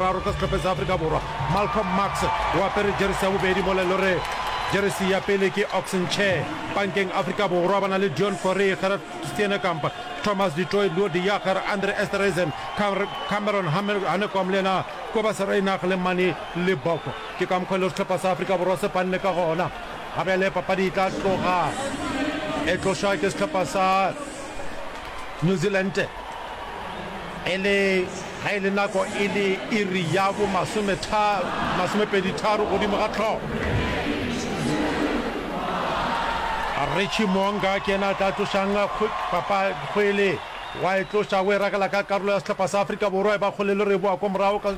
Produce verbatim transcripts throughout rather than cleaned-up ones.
boraro ka sehlopheng sa Afrika Borwa. Malcolm Marx o apere jeresi ya bobedi mola e le gore jeresi ya pele ke Ox Nche. Pankeng Afrika Borwa ba na le Deon Fourie, Gerard Steenekamp, Thomas du Toit, Louw de Jager, Andre Esterhuizen, Cameron Hanekom le yena Cobus Reinach le Manie Libbok. Ke ka mokgwa e le gore sehlopha sa Afrika Borwa se panne ka gona. Ga bjale papadi e tla tloga e tlošwa ke sehlopha sa New Zealand e le ga e le nako e le iri ya bo masomepedi tharo godimo ga hlogo. Richie Mo'unga ke yena a tla tlošang kgwele, wa e tloša o e ragela ka karolo ya sehlopha sa Afrika Borwa, e ba kgole le re boa ko morago ka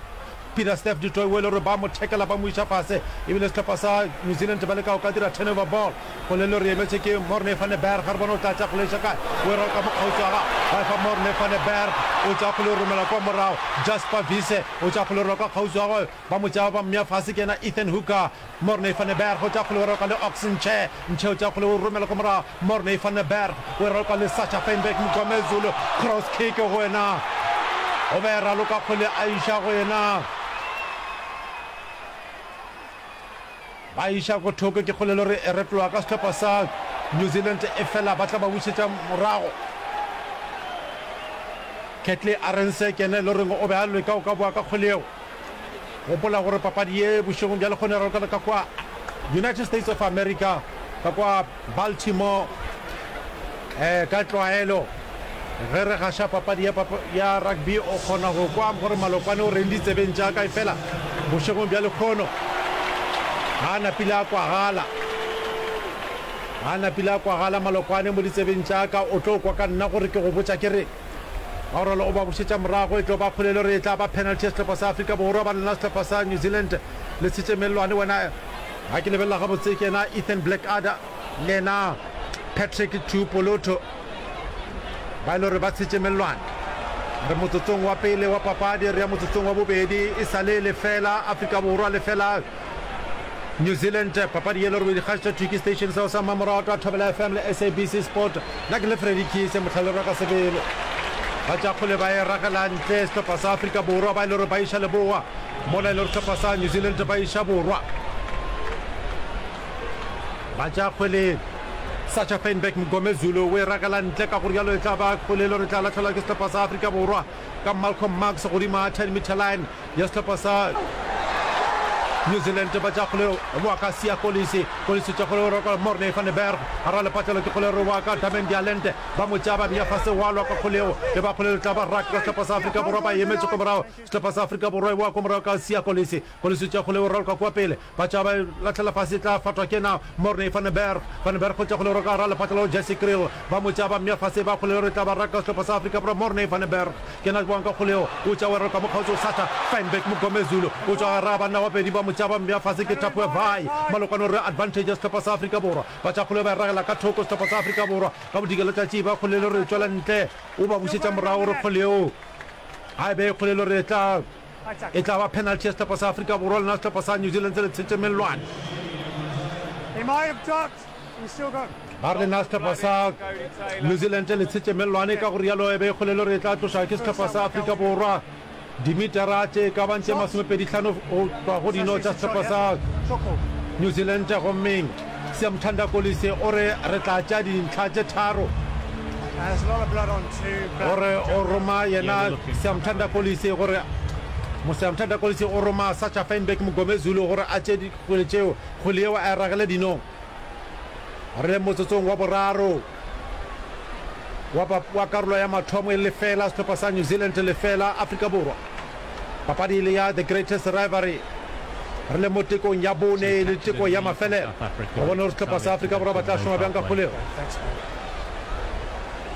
Pieter-Steph du Toit o e le gore ba mo thekela ba mo iša fase, ebile sehlopha sa New Zealand ba leka go ka dira turnover ball. Kgole le re emetše ke Morne van der Berg, ga re bone o tla tša kgole iša kae, o e roka mo kgauswi ga ba efa Morne van der Berg, o tša kgole o romela kwa morago, Jasper Wiese o tša kgole o roka kgauswi ga gagwe, ba mo tšea ba mmea fase ke yena Ethan Hooker, Morne van der Berg o tša kgole o roka le Ox Nche, Nche o tša kgole o romela kwa morago, Morne van der Berg o e roka le Sacha Feinberg Mngomezulu, cross kick go yena, o be raloka kgole a iša go yena. Ba iša ko thoko ke kgole le gore e retloga ka sehlopha sa New Zealand e fela ba tla ba bušetša morago. Catley Arendse ke yena e le goreng o be a leka go ka boa ka kgole yeo. Gopola gore papadi ye bošegong bja lekgono e ralokela ka kwa United States of America ka kwa Baltimore. Eh, ka tlwaelo ge re gaša papadi ya, ya rugby o kgona go kwa gore malokwane o reng ditsebeng tša ka, efela bošegong bja lekgono ga a napile a kwagala, ga a napile a kwagala malokwane mo ditsebeng tša ka. O tlo kwa ka nna gore ke go botša ke re ga o ralo o ba bušetša morago, e tlo ba kgolelo re e tla ba penalty ya sehlopha sa Afrika Borwa ba lena sehlopha sa New Zealand le tshetše mellwane. Wena ga ke lebelela gabotse ke yena Ethan Blackadder le yena Patrick Tuipulotu ba e le gore ba tshetše mellwane. Re motsotsong wa pele wa papadi, re ya motsotsong wa bobedi, e sa le lefela Afrika Borwa lefela New Zealand. Papadi ye le gore o dikgašetša thwi ke station seo sa mmamoratwa Thobela F M le S A B C Sport. Nna ke le Freddy Kise mohlalelwa ka sebele. Ba tša kgole ba e ragela ntle sehlopha sa Afrika Borwa ba e le gore ba iša leboa, mola e le gore sehlopha sa New Zealand ba iša borwa. Ba tša kgwele Sacha Feinberg Mngomezulu o e ragela ntle, ka go rialo e tla ba kgwele e le gore e tla lahlelwa ke sehlopha sa Afrika Borwa ka Malcolm Marx godimo ga ten meter line ya sehlopha sa New Zealand. Ba tša kgwele wa ka Siya Kolisi, Kolisi tša kgwele o roka Morne van der Berg gara lepatlelo ke kgwele re wa ka Damian de Allende, ba mo tšea ba bea fase wa lwa ka kgwele yeo e ba kgwele e tla ba ruck ka sehlopha sa Afrika Borwa ba emetše ko morago. Sehlopha sa Afrika Borwa e boa ko morago ka Siya Kolisi, Kolisi tša kgwele o raloka kua pele, ba tšea ba e lahlela fase e tla fatwa ke na Morne van der Berg, van der Berg go tša kgwele o roka gara lepatlelo Jesse Kriel, ba mo tšea ba mmea fase ba kgwele re tla ba raka sehlopha sa Afrika Borwa. Morne van der Berg ke yena a boang ka kgwele yeo, o tšea o e raloka mo kgauswi o Sacha Feinberg Mngomezulu o tšwa gara banna ba pedi ba mo tšea ba mmea fase ke Tapuwe Vai Malokwane o re advantage ya sehlopha sa Afrika Borwa, ba tša kgwele ba e ragela ka thoko sehlopha sa Afrika Borwa ka bodikela tšatši ba kgwele re tšwela ntle o ba bušetša morago re kgwele yeo ga e be kgwele re tla e tla ba penalty ya sehlopha sa Afrika Borwa lena sehlopha sa New Zealand le tshetše mellwane. Ba re lena sehlopha sa New Zealand le tshetše mellwane, ka go rialo e be kgolelo re tla tloša ke sehlopha sa Afrika Borwa dimetara tše ka bang tše masomepedi hlano go tšwa go dino tša sehlopha sa New Zealand. Gommeng Siyamthanda Kolisi o re re tla tšea dintlha tše tharo. Gore o roma yena Siyamthanda Kolisi gore Siyamthanda Kolisi o roma Sacha Feinberg Mngomezulu gore a tšee dikgwele tšeo, kgwele yeo a e ragele dinong. Re le motsotsong wa boraro wa, wa karolo ya mathomo e lefela sehlopha sa New Zealand lefela Afrika Borwa. Papadi e le ya The Greatest Rivalry. Re le mo tekong ya bone le teko ya mafelelo. Go bona gore sehlopha sa Afrika Borwa ba tla šoma bjang ka kgwele yeo.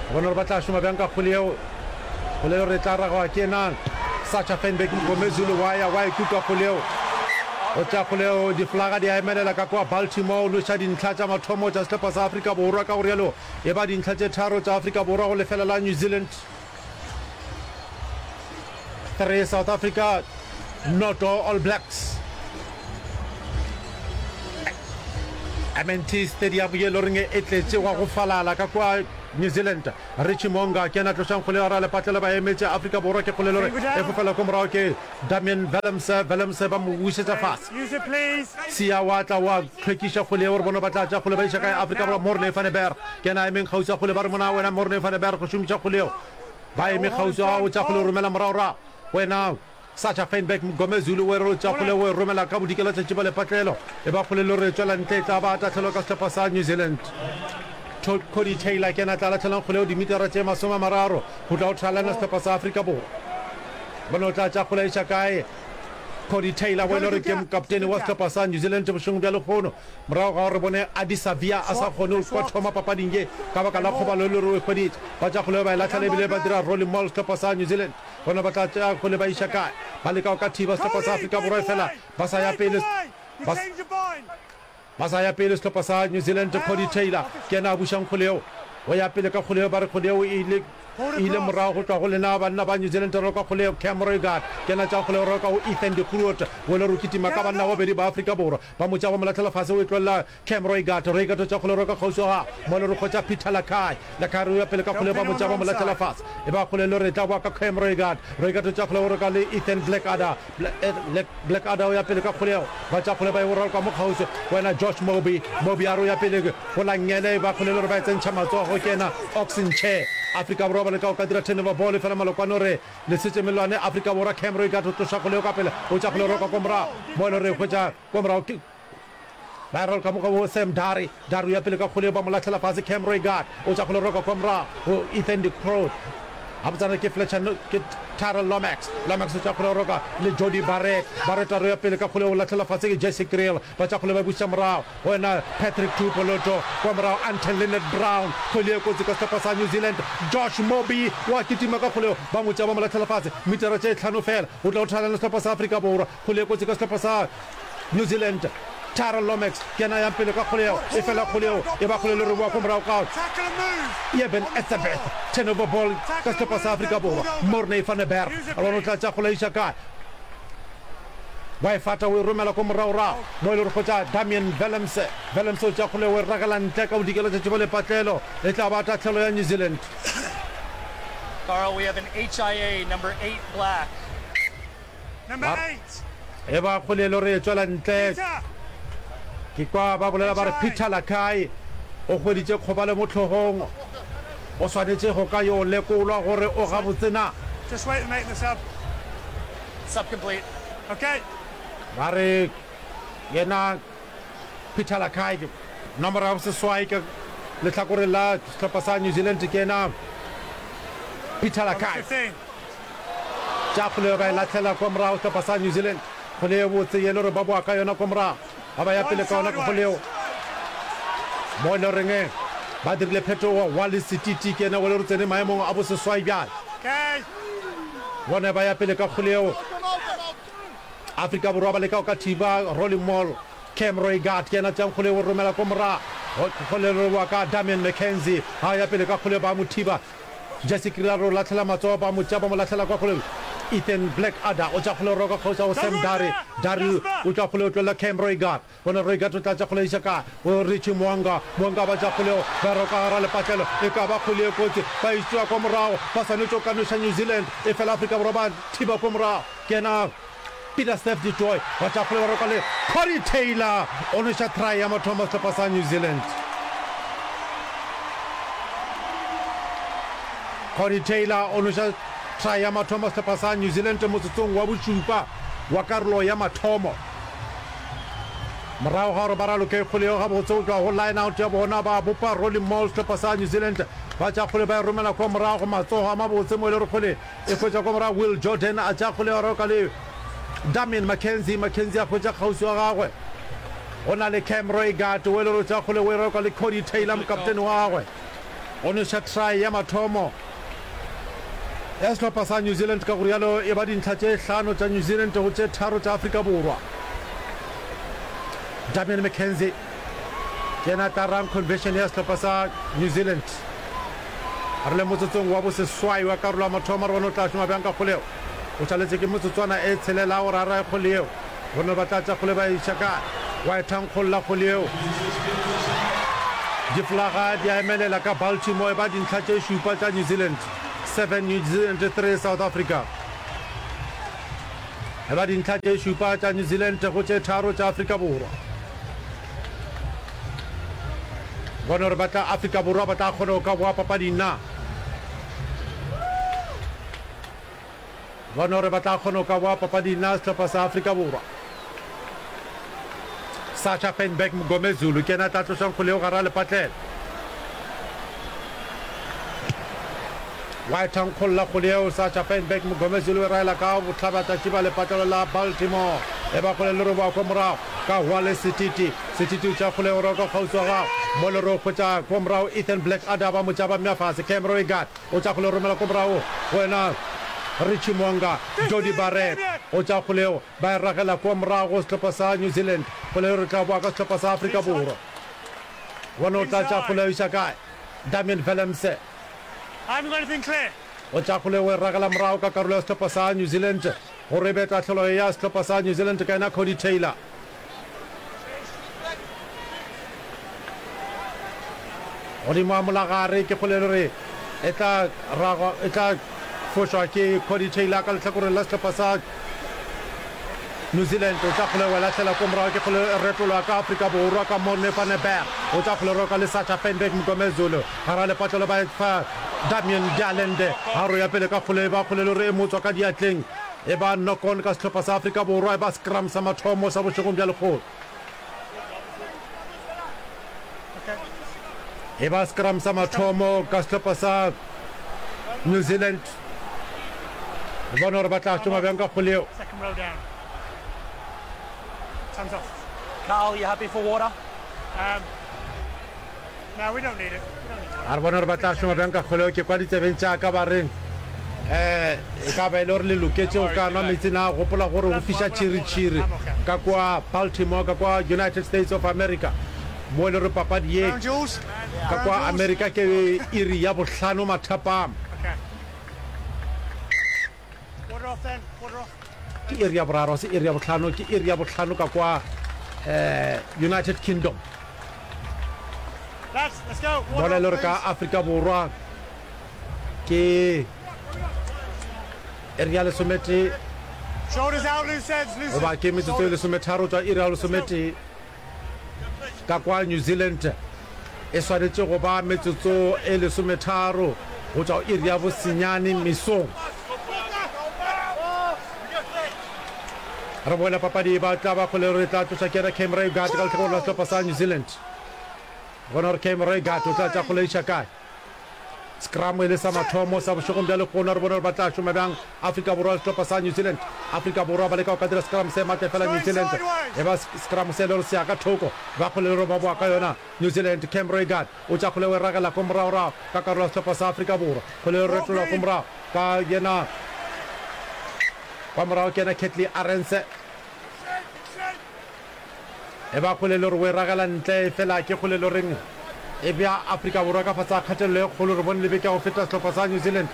Go bona gore ba tla šoma bjang ka kgwele yeo. Kgwele yeo re tla ragwa ke nang? Sacha Feinberg Mngomezulu wa ya wa e kuka kgwele yeo. Go tša kgwele yeo diflaga di a emelela ka kua Baltimore. O noša dintlha tša mathomo tša sehlopha sa Afrika Borwa, ka go rialo e ba dintlha tše tharo tša Afrika Borwa go lefela la New Zealand. Three South Africa, noto All Blacks. M N T Stadium ye e le goreng e tletše gwa go falala ka kua New Zealand. Richie Mo'unga ke yena a tlošang kgole gare ga lepatlelo, ba emetše Afrika Borwa ke kgole lore e fofela ko morago ke Damian Willemse, Willemse ba mo bušetša fase. Siya wa tla wa hlwekiša kgole yeo, re bone ba tla tša kgole ba iša kae Afrika Borwa. Morne van der Berg ke yena a emeng kgauswi a kgole, ba re mona wena Morne van der Berg go šomiša kgole yeo, ba eme kgauswi a o tša kgole o romela morago-rago wena. Sacha Feinberg Mngomezulu o re tša kgole o e romela ka bodikela tšatši ba lepatlelo e ba kgole le re tšwela ntle e tla ba tahlelo ka sehlopha sa New Zealand. Cody Taylor ke yena a tla lahlelang kgole eo dimitara tše masome a mararo go tla go thalana sehlopha sa Afrika Borwa. Bone o tla tša kgole a iša kae Cody Taylor o e le gore ke mokaptene wa sehlopha sa New Zealand bošegong bja lehono morago ga gore bone Ardie Savea a sa kgone go thoma papading ye ka baka la kgobalo e le gore o e hweditše. Ba tša kgole ba e lahlela ebile ba dira rolling maul sehlopha sa New Zealand. Bona ba tla tšea kgole ba iša kae? Ba leka go ka thiba sehlopha sa Afrika Borwa efela ba sa ya pele. Ba, ba sa ya pele sehlopha sa New Zealand. Cody Taylor ke yena a bušang kgole yeo. O ya pele ka kgole yeo, ba re kgole yeo e ile, e ile morago go tšwa go lena banna ba New Zealand. Roka kgole yeo, Cam Roigard ke yena a tšeang kgole yeo, roka go Ethan de Groot. O ile re o kitima ka banna ba babedi ba Afrika Borwa. Ba mo tšea ba mo lahlela fase, o e tlolela Cam Roigard, Roigard o tšea kgole roka kgauswi ga mo le hwetša Peter Lakai. Lakai o ya pele ka kgole ba mo tšea ba mo lahlela fase. E ba kgole le re tla boa ka Cam Roigard. Roigard o tšea kgole o roka le Ethan Blackadder. Blackadder o ya pele ka kgole ba tšea kgole ba e raloka mo kgauswi. Wena Josh Moby. Moby a re o ya pele go la nngele e ba kgole le gore ba e tsentšha matsogo ke yena Ox Nche. Afrika Borwa ba leka go ka dira turnover ball efela Malokwane o re le setše melwane Afrika Borwa. Cam Roigard o tloša kgole ka pele o tšea kgole roka ko morago mo e le gore hwetša ko morago ke Ba e raloka mo go Sam Dari. Dari o ya pele ka kgole ba mo lahlela fase. Cam Roigard o tša kgole roka kwa morago go Ethan de Groot. Gabotsana ke Fletcher ke Tyrell Lomax. Lomax o tša kgole roka le Jody Barrett. Barrett a re ya pele ka kgole o lahlela fase ke Jesse Kriel. Ba tša kgole ba buša morago go yena Patrick Tuipulotu. Kwa morago Anton Lienert-Brown. Kgwele e kotsi ka sehlopha sa New Zealand. Josh Moby wa kitima ka kgole ba mo tšea ba mo lahlela fase. Mitara tše hlano fela o tla go thalana le sehlopha sa Afrika Borwa. Kgole e kotsi ka sehlopha sa New Zealand. Tyrell Lomax ke yena a yang pele ka kgole yeo, efela kgole yeo e ba kgole le re boa ko morago ka Eben Etzebeth. Turnover ball ka sehlopha sa Afrika Borwa. Morne van der Berg a bona o tla tša kgole a iša kae. Wa e fata o e romela ko moragorago mo e le gore hwetša Damian Willemse. Willemse o tša kgole o e ragela ntle ka bodikela tšatši ba lepatlelo. E tla ba tahlelo ya New Zealand. Carl, we have an H I A, number eight, black. Ge ba kgolelo re tšwela ntle, ke kwa ba bolela ba re Peter Lakai o hweditše kgobalo mo hlogong, o swanetše go ka yo lekolwa gore o gabotse na. Ba re yena Peter Lakai ke nomoro ya boseswai ka lehlakoreng la sehlopha sa New Zealand, ke yena Peter Lakai. Tša kgole ba e lahlela kwa morago sehlopha sa New Zealand. Kgole ye botse ye le gore ba boa ka yona kwa morago. Ba ba ya pele ka yona ka kgole yeo. Mo e le goreng ba dirile phetogo, Wallace Sititi ke yena o le gore tsene maemong a boseswai bjale. Bone ba ya pele ka kgole yeo. Afrika Borwa ba leka go ka thiba Rolling Maul. Cam Roigard ke yena tšeang kgole yeo o romela kwa morago. Kgole le boa ka Damian McKenzie. Ha ya pele ka kgole ba mo thiba. Jesse Kriel o lahlela matsogo, ba mo tšea ba mo lahlela kwa kgole. Ethan Blackadder o tša kgole roka kgauswi go Sam Darry. Darry o tšwa kgole o tlolela Cam Roigard. Bona Roigard o tla tša kgole a iša kae? Go Richie Mo'unga. Mo'unga ba tša kgole ba roka gara lepatlelo. E ka ba kgole ye kotsi. Ba e tšea kwa morago. Ba swanetše go ka noša New Zealand. Efela Afrika Borwa ba thiba kwa morago. Ke yena Peter Steph du Toit wa tša kgole ba roka le Corey Taylor o noša try ya mathomo sehlopha sa New Zealand. Corey Taylor o noša try ya mathomo sehlopha sa New Zealand motsotsong wa bošupa wa karolo ya mathomo. Morago ga gore ba raloke kgole yeo gabotse go tšwa go line out ya bona ba bopa rolling maul sehlopha sa New Zealand ba tša kgole ba e romela kwa morago matsogo a mabotse mo e le gore kgole E hwetša kwa morago Will Jordan a tšea kgole ya roka le Damian McKenzie. McKenzie a hwetša kgauswi wa gagwe. Go na le Cam Roigard o e le gore o tšea kgole o e roka le Cody Taylor mokaptene wa gagwe. O noša try ya mathomo ya sehlopha sa New Zealand ka go rialo e ba dintlha tše hlano tša New Zealand go tše tharo tša Afrika Borwa. Damian McKenzie ke yena a tla rang conversion ya sehlopha sa New Zealand. Re le motsotsong wa boseswai wa karolo ya mathomo, re bone o tla šoma bjang ka kgole yeo. O šaletše ke metsotswana e tshelela gore a rae kgole yeo. Re bone ba tla tša kgole ba e iša kae. Wa e thankgolla kgole yeo. Difolaga di a emelela ka Baltimore e ba dintlha tše šupa tša New Zealand, seven New Zealand, three South Africa. E ba dintlha tše šupa tša New Zealand go tše tharo tša Afrika Borwa. Bone gore ba tla Afrika Borwa ba tla kgona go ka boa papading na. Bone gore ba tla kgona go ka boa papading na sehlopha sa Afrika Borwa. Sacha Feinberg Mngomezulu ke yena a tla tlošang kgole yeo gare ga lepatlela. Wa e thankgolla kgole yeo Sacha Feinberg Mngomezulu e raela ka bohlabatšatši ba lepatlelo la Baltimore. E ba kgole le roboa kwa morago ka Wale Setiti. Setiti o tšea kgole yeo roka kgauswi wa gagwe. Mo le ro hwetša kwa morago Ethan Black Adder ba mo tšaba mme a fase. Cam Roigard o tšea kgole romela kwa morago go yena Richie Mo'unga. Jody Barrett o tšea kgole yeo Ba e ragela kua morago sehlopha sa New Zealand. Kgole yeo re tla boa ka sehlopha sa Afrika Borwa. Bona o tla tša kgole ya iša kae. Damian Willemse o tša kgole o e ragela morago ka karolo ya sehlopha sa New Zealand gore e be tahlelo ya sehlopha sa New Zealand ka yena Cody Taylor. Godimo ga molagare ke kgole le re e tla ragwa e tla fošwa ke Cody Taylor ka lehlakoreng la sehlopha sa New Zealand. O tla kgole wa lahlela ko morago ke kgole e retolwa ka Afrika Borwa ka Morne van der Berg. O tla kgole roka le Sacha Feinberg Mngomezulu gara lepatlelo ba fa Damian de Allende. Garo ya pele ka kgole ba kgole le re e motswa ka diatleng e ba knock on ka sehlopha sa Afrika Borwa e ba scrum sa mathomo sa bošegong bja lekgolo. E ba scrum sa mathomo ka sehlopha sa New Zealand. Re bone gore ba tla šoma bjang ka kgole yeo. Carl, you happy for water? Um, no, we don't need it. A re bone gore ba tla šoma bjang ka kgole yeo. Ke kwa ditsebeng tša ka ba reng um e ka ba e le gore le loketše go ka nwa meetse na. Gopola gore go fiša tšhiritšhiri ka kua Baltimore, ka kua United States of America, mo e le gore papadi ye ka kua America ke iri ya bohlano mathapama. Ke iri ya boraro, se iri ya bohlano, ke iri ya bohlano ka kua um United Kingdom. Mola e le gore ka Afrika Borwa ke iri ya lesometee goba ke metsotso e lesometharo tšwa iri ya lesometee. Ka kwa New Zealand e swanetše go ba metsotso e lesometharo go tšwa go iri ya bosenyane mesong. Re boela papadi ba tla ba kgole re tla tloša kere Cam Roigard ka lehlakoreng la sehlopha sa New Zealand. Bona gore Cam Roigard o tla tša kgole iša kae. Scrum e le sa mathomo sa bošegong bja lehono, re bone gore ba tla šoma bjang Afrika Borwa le sehlopha sa New Zealand. Afrika Borwa ba leka go ka dira scrum se matla efela New Zealand e ba scrum se le gore se ya ka thoko, ba kgole le gore ba boa ka yona. New Zealand, Cam Roigard o tša kgole o e ragela ko moragorago ka karolo ya sehlopha sa Afrika Borwa. Kgole e retolwa ko morago ka yena kwa morago ke yena Kurt-Lee Arendse. E ba kgole le gore o e ragela ntle, efela ke kgole le goreng e bea Afrika Borwa ka fase ga kgatelelo e kgolo. Re bone le beke ya go feta sehlopha sa New Zealand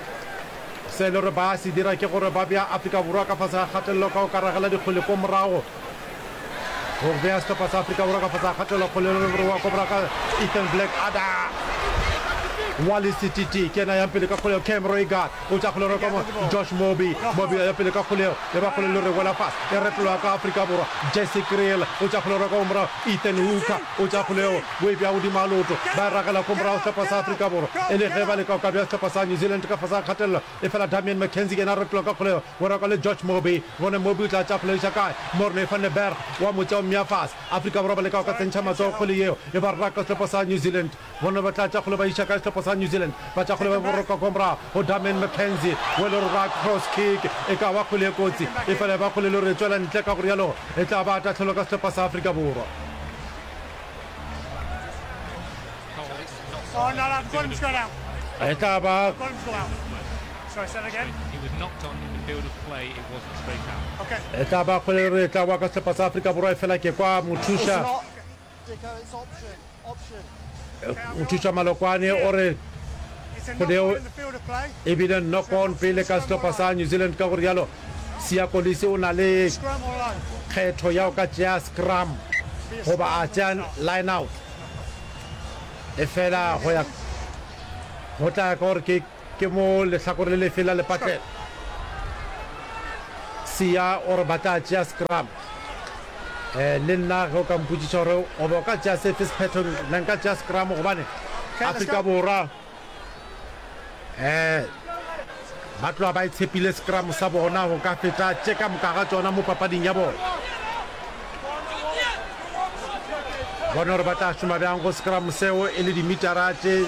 se le gore ba se dira ke gore ba bea Afrika Borwa ka fase ga kgatelelo ka go ka ragela dikgole ko morago, go bea sehlopha sa Afrika Borwa ka fase ga kgatelelo. Kgole le gore wa ko morago ka Ethan Black Ada Wally Setiti ke yena yang pele ka kgole. Cam Roigard o tša kgole ka mo Josh Moby, Moby ya pele ka kgole e ba kgole le re wela fase e retolwa ka Afrika Borwa. Jesse Kriel o tša kgole ka morago, Ethan Hooker o tša kgole o e bea godimo ga leoto, ba e ragela ko morago sehlopha sa Afrika Borwa e le ge ba leka go ka bea sehlopha sa New Zealand ka fase ga kgatelelo. Efela Damian McKenzie ke yena a retolwa ka kgole o raka le George Moby. Bone Moby o tla tša kgole iša kae? Morne van der Berg wa mo tšea o mmea fase. Afrika Borwa ba leka go ka tsentšha matsogo kgole yeo e ba raka sehlopha sa New Zealand. Bona ba tla tša kgole ba iša kae sehlopha sa New Zealand? Ba tša kgole ba boroka kwa morago go Damian McKenzie we le ra cross kick e ka ba kgole e kotsi, efela e ba kgole le gore e tšwela ntle, ka go rialo e tla ba tahlelo ka sehlopha sa Afrika Borwa. E tla ba e tla ba kgole le gore e tla boa ka sehlopha sa Afrika Borwa, efela ke kwa mothuša Mothuša Malokwane o re kgwele yeo e bile knock on pele ka sehlopha sa New Zealand, ka go rialo Siya Kolisi o na le kgetho ya go ka tšea scrum goba a tšea line out. Efela go ya go tla ya ka gore ke ke mo lehlakore le lefe la lepatlelo. Siya o re ba tla tšea scrum. Eh, le nna ge o ka mpotšiša gore o be o ka tšea sefe sephetho, nna nka tšea scrum gobane Afrika Borwa eh ba tloga ba itshepile scrum sa bona go ka feta tše ka moka ga tšona mo papading ya bona. Bona gore ba tla šoma bjang go scrum seo e le dimitara tše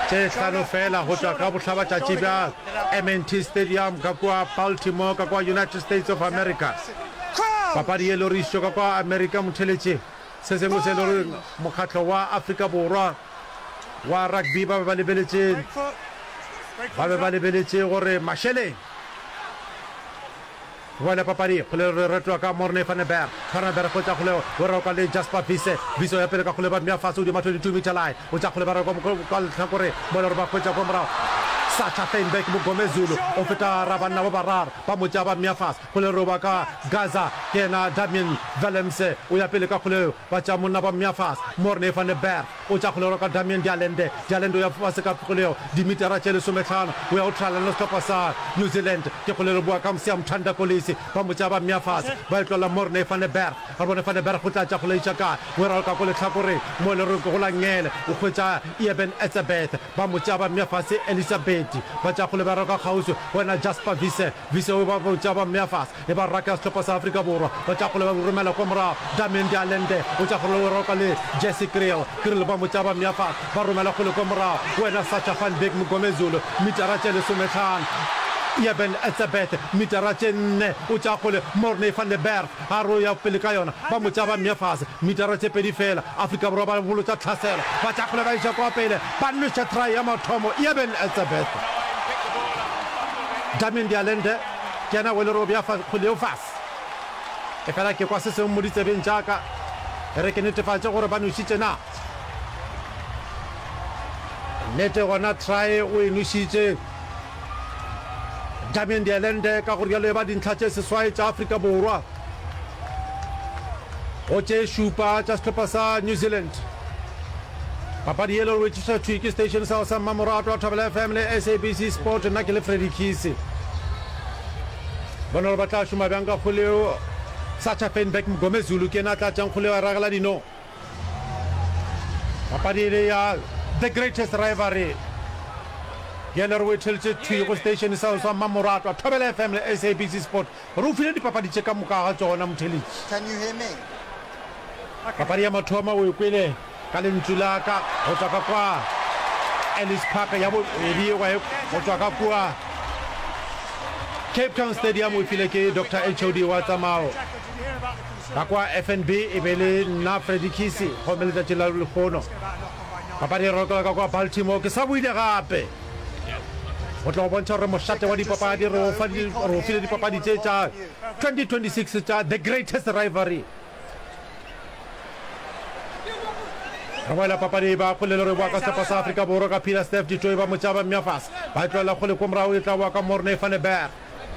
tše hlano fela go tšwa ka bohlabatšatši bja M N T Stadium ka kua Baltimore ka kua United States of America. Papadi ye le gore išitšwe ka kua Amerika motheletše se sengwe se le gore mokgatlo wa Afrika Borwa wa rugby ba be ba lebeletše ba be ba lebeletše gore mašeleng boela papadi kgole re retwa ka Morne van der Berg. Van der Berg go tša kgole o roka le Jasper Wiese. Wiese o ya pele ka kgole ba mmea fase godimo twenty-two meter line. O tša kgole ba roka ka lehlakore mola gore ba hwetša kwa morago. Sacha Feinberg Mngomezulu o feta ra banna ba bararo ba mo tšea ba mmea fase. Kgole re ba ka Gaza ke yena Damien Willemse o ya pele ka kgole ba tšea monna ba mmea fase. Morne van der Berg o tša kgole roka Damien de Allende. De Allende o ya fase ka kgole eo dimitara tše lesometlhano o ya o trialana le sehlopha sa New Zealand. Ke kgole re bua ka Msiamthanda Kolisi ba mo tšea ba mmea fase ba e tlola Morne van der Berg. Re bone van der Berg o tla tša kgole iša kae o e raloka ko lehlakoreng mo le re go la ngele o hwetša Eben Etzebeth ba mo tšea ba mmea fase Elizabeth ba tša kgole ba roka kgauswi wena Jasper Wiese. Wiese o ba tšea ba mmea fase e ba raka sehlopha sa Afrika Borwa ba tša kgole ba romela kwa morago Damien de Allende o tša kgole o roka le Jesse Kriel. Kriel ba mo tšea ba mmea fase ba romela kgole kwa morago wena Sacha Feinberg Mngomezulu mitara tše lesometlhano Eben Etzebeth mitara tše nne o tša kgole Morne van der Berg a re o ya pele ka yona ba mo tšea ba mmea fase mitara tše pedi fela. Afrika Borwa ba bolotša tlhaselo ba tša kgole ba iša kwa pele ba nweša try ya mathomo Eben Etzebeth. Damien de Allende ke yena o le re o bea kgole eo fase. E fela ke kwa se sengwe mo ditsebeng tša ka e re ke netefatše gore ba nwešitše na. Nnete gona try o e nwešitše Damien de Allende ka gore bjalo e ba dintlha tše seswai tša Afrika Borwa go tše šupa tša sehlopha sa New Zealand. Papadi ye le gore tšiša thwi ke station sa sa Mmamoratwa wa Thobela F M le S A B C Sport. Nna ke le Freddy Kisi. Bona gore ba tla šoma bjang ka kgole eo. Sacha Feinberg Mngomezulu ke yena a tla tšang kgole eo a ragela dino. Papadi e le ya The Greatest Rivalry. Bjale re o etheletše thwi go station sa sa Mmamoratwa Thobela F M le S A B C Sport. Re o file dipapadi tše ka moka ga tšona motheletši. Can you hear me? Papadi ya mathomo o e kwele ka lentšu la ka go tšwa ka kwa Ellis Park ya bobedi wa e go tšwa ka kua Cape Town Stadium o e file ke Doctor H O D wa tsamao ka kwa F N B e be le nna Freddy Kisi gomme letšatši la lehono papadi e rokela ka kwa Baltimore. Ke sa buile gape go tla go bontšha gore mošate wa dipapadi re o fa re o file dipapadi tše tša twenty twenty-six tša The Greatest Rivalry. Re boela papadi ba kgole le re boa ka sehlopha sa Afrika Borwa ka Peter Steph Ditoi ba mo tšea ba mmea fase ba e tlohela kgole ko morago e tla boa ka Morne van der Berg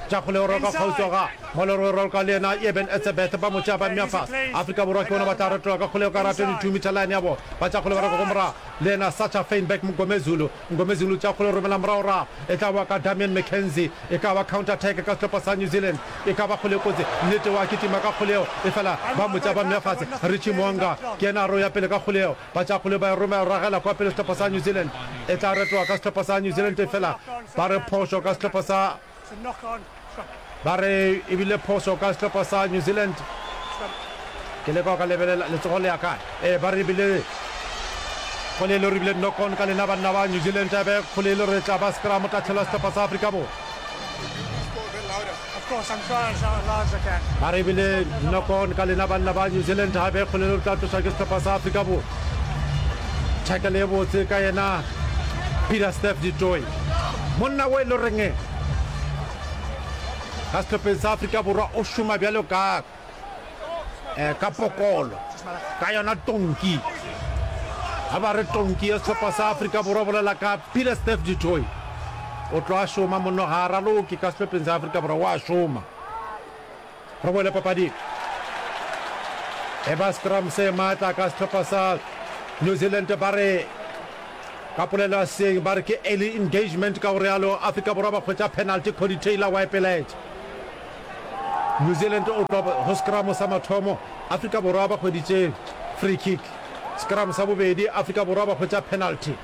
tša kgole o roka kgauswi ga Molero o roka le yena Eben Etzebeth ba mo tšea ba mmea fase. Afrika Borwa ke bona ba tla retola ka kgole ka ra twenty-two meter line ya bona ba tša kgole ba roka ko morago le yena Sacha Feinberg Mngomezulu. Mngomezulu tša kgole romela morago rago e tla boa ka Damian McKenzie e ka ba counter attack ka sehlopha sa New Zealand e ka ba kgole kotsi nnete wa kitima ka kgole eo e fela ba mo tšea ba mmea fase. Richie Mo'unga ke yena a re o ya pele ka kgole eo ba tša kgole ba e romela ragela kwa pele sehlopha sa New Zealand e tla retoga ka sehlopha sa New Zealand e fela ba re phošo ka sehlopha sa ba re ebile phošo ka sehlopha sa New Zealand. Ke leka ka lebelela letsogo le ya kae e ba re ebile kgole le re ebile knock on ka lena banna ba New Zealand be kgole le re tla ba scrum tahlelo sehlopha sa Afrika Borwa. Ba re ebile knock on ka lena banna ba New Zealand gape kgole le re tla tloša ke sehlopha sa Afrika Borwa. Tackle e botse ka yena Peter Steph Ditoi monna o e le reng ka sehlopheng sa Afrika Borwa o šoma bjalo ka eh, ka pokolo ka yona tonki. Ga ba re tonki ya sehlopha sa Afrika Borwa bolela ka Peter Steph Ditoi o tlo a šoma monno ga a raloke ka sehlopheng sa Afrika Borwa o a šoma. Re boele papading e ba scrum se maatla ka sehlopha sa New Zealand ba re ka polelo ya seeng ba re ke early engagement, ka go realo Afrika Borwa ba hwetša penalty. Cody Taylor wa epeletša. New Zealand o tloga go scrum sa mathomo, Afrika Borwa ba hweditše free kick. Scrum sa bobedi, Afrika Borwa ba hwetša penalty.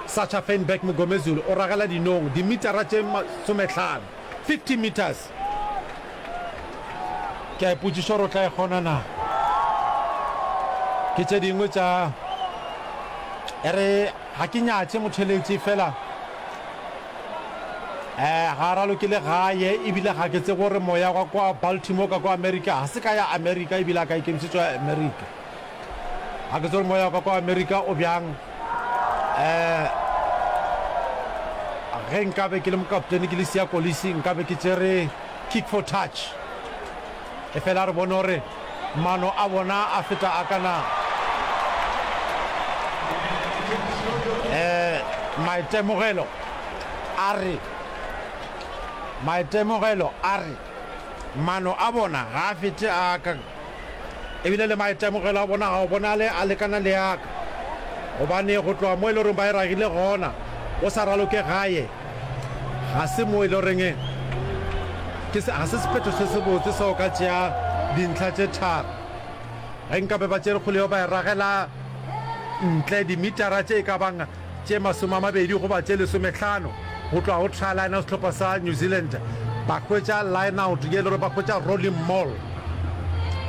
Sacha Feinberg Mngomezulu o ragela dinong dimitara tše masomehlano, fifty meters. Ke a ipotšiša gore o tla e kgona na. Ke tše dingwe tša e re ga ke nyatše motheletši fela um ga a ralokele gae, ebile ga ke tsebe gore moya wa kwa Baltimore ka kwa Amerika, ga se ka ya Amerika ebile a ka ikemišetšo ya Amerika. Ga ke tsebe gore moya wa ka kwa Amerika o bjang. Um ge nkabe ke le mokaptene ke le Siya Kolisi, nkabe ke tšere kick for touch. Efela re bone gore mano a bona a feta a ka na. Um maitemogelo a re, maitemogelo a re mano a bona ga a fete a ka, ebile le maitemogelo a bona ga o bonale a lekana le a ka, gobane go tloga mo e le goreng ba e ragile gona o sa raloke gae, ga se mo e le goreng ke se, ga se sephetho se sebotse sa go ka tšea dintlha tše tharo. Ge nkabe ba tšere kgole yeo ba e ragela ntle dimitara tše e ka bang tše masome a mabedi goba tše lesomehlano go tloga go try line ya sehlopha sa New Zealand, ba hwetša line out ye e le gore ba hwetša rolling maul,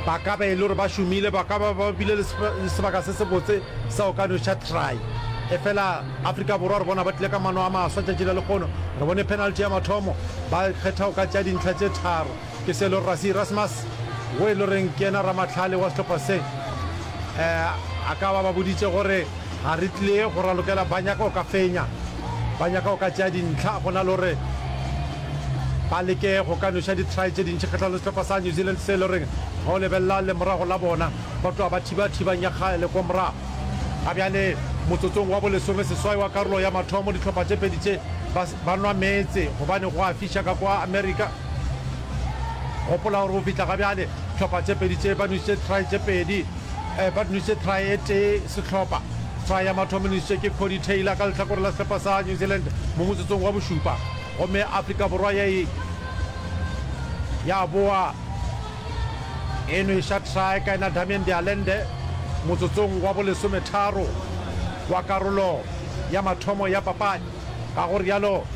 ba ka ba e le gore ba šomile, ba ka ba ba bile le sebaka se sebotse sa go ka noša try. Efela Afrika Borwa re bona ba tlile ka mano a maswa tšatši la lekgono. Re bone penalty ya mathomo, ba kgetha go ka tšea dintlha tše tharo. Ke se e le gore Rassie Erasmus, wo e le goreng ke yena ramahlale wa sehlopha se, a ka ba ba boditše gore ga re tlile go ralokela, ba nyaka go ka fenya, ba nyaka go ka tšea dintlha go na le gore ba leke go ka noša di-try tše dintši kgahlanong le sehlopha sa New Zealand se e le goreng ge o lebelela lemorago la bona ba tloga ba thiba thibang ya kgale kwa morago. Ga bjale motsotsong wa bolesome seswai wa karolo ya mathomo dihlopha tše pedi tše ba, ba nwa meetse gobane go a fiša ka kwa Amerika. Gopola gore go fihla ga bjale hlopha tše pedi tše ba nwešitše try tše pedi, eh, ba nwešitše try e tee sehlopha. Try ya mathomo e nwešitše ke Cody Taylor ka lehlakore la sehlopha sa New Zealand mo motsotsong wa bošupa, gomme Afrika Borwa ya e ya boa e nweša try ka yena Damian de Allende motsotsong wa bolesometharo wa karolo ya mathomo ya papadi. Ka go rialo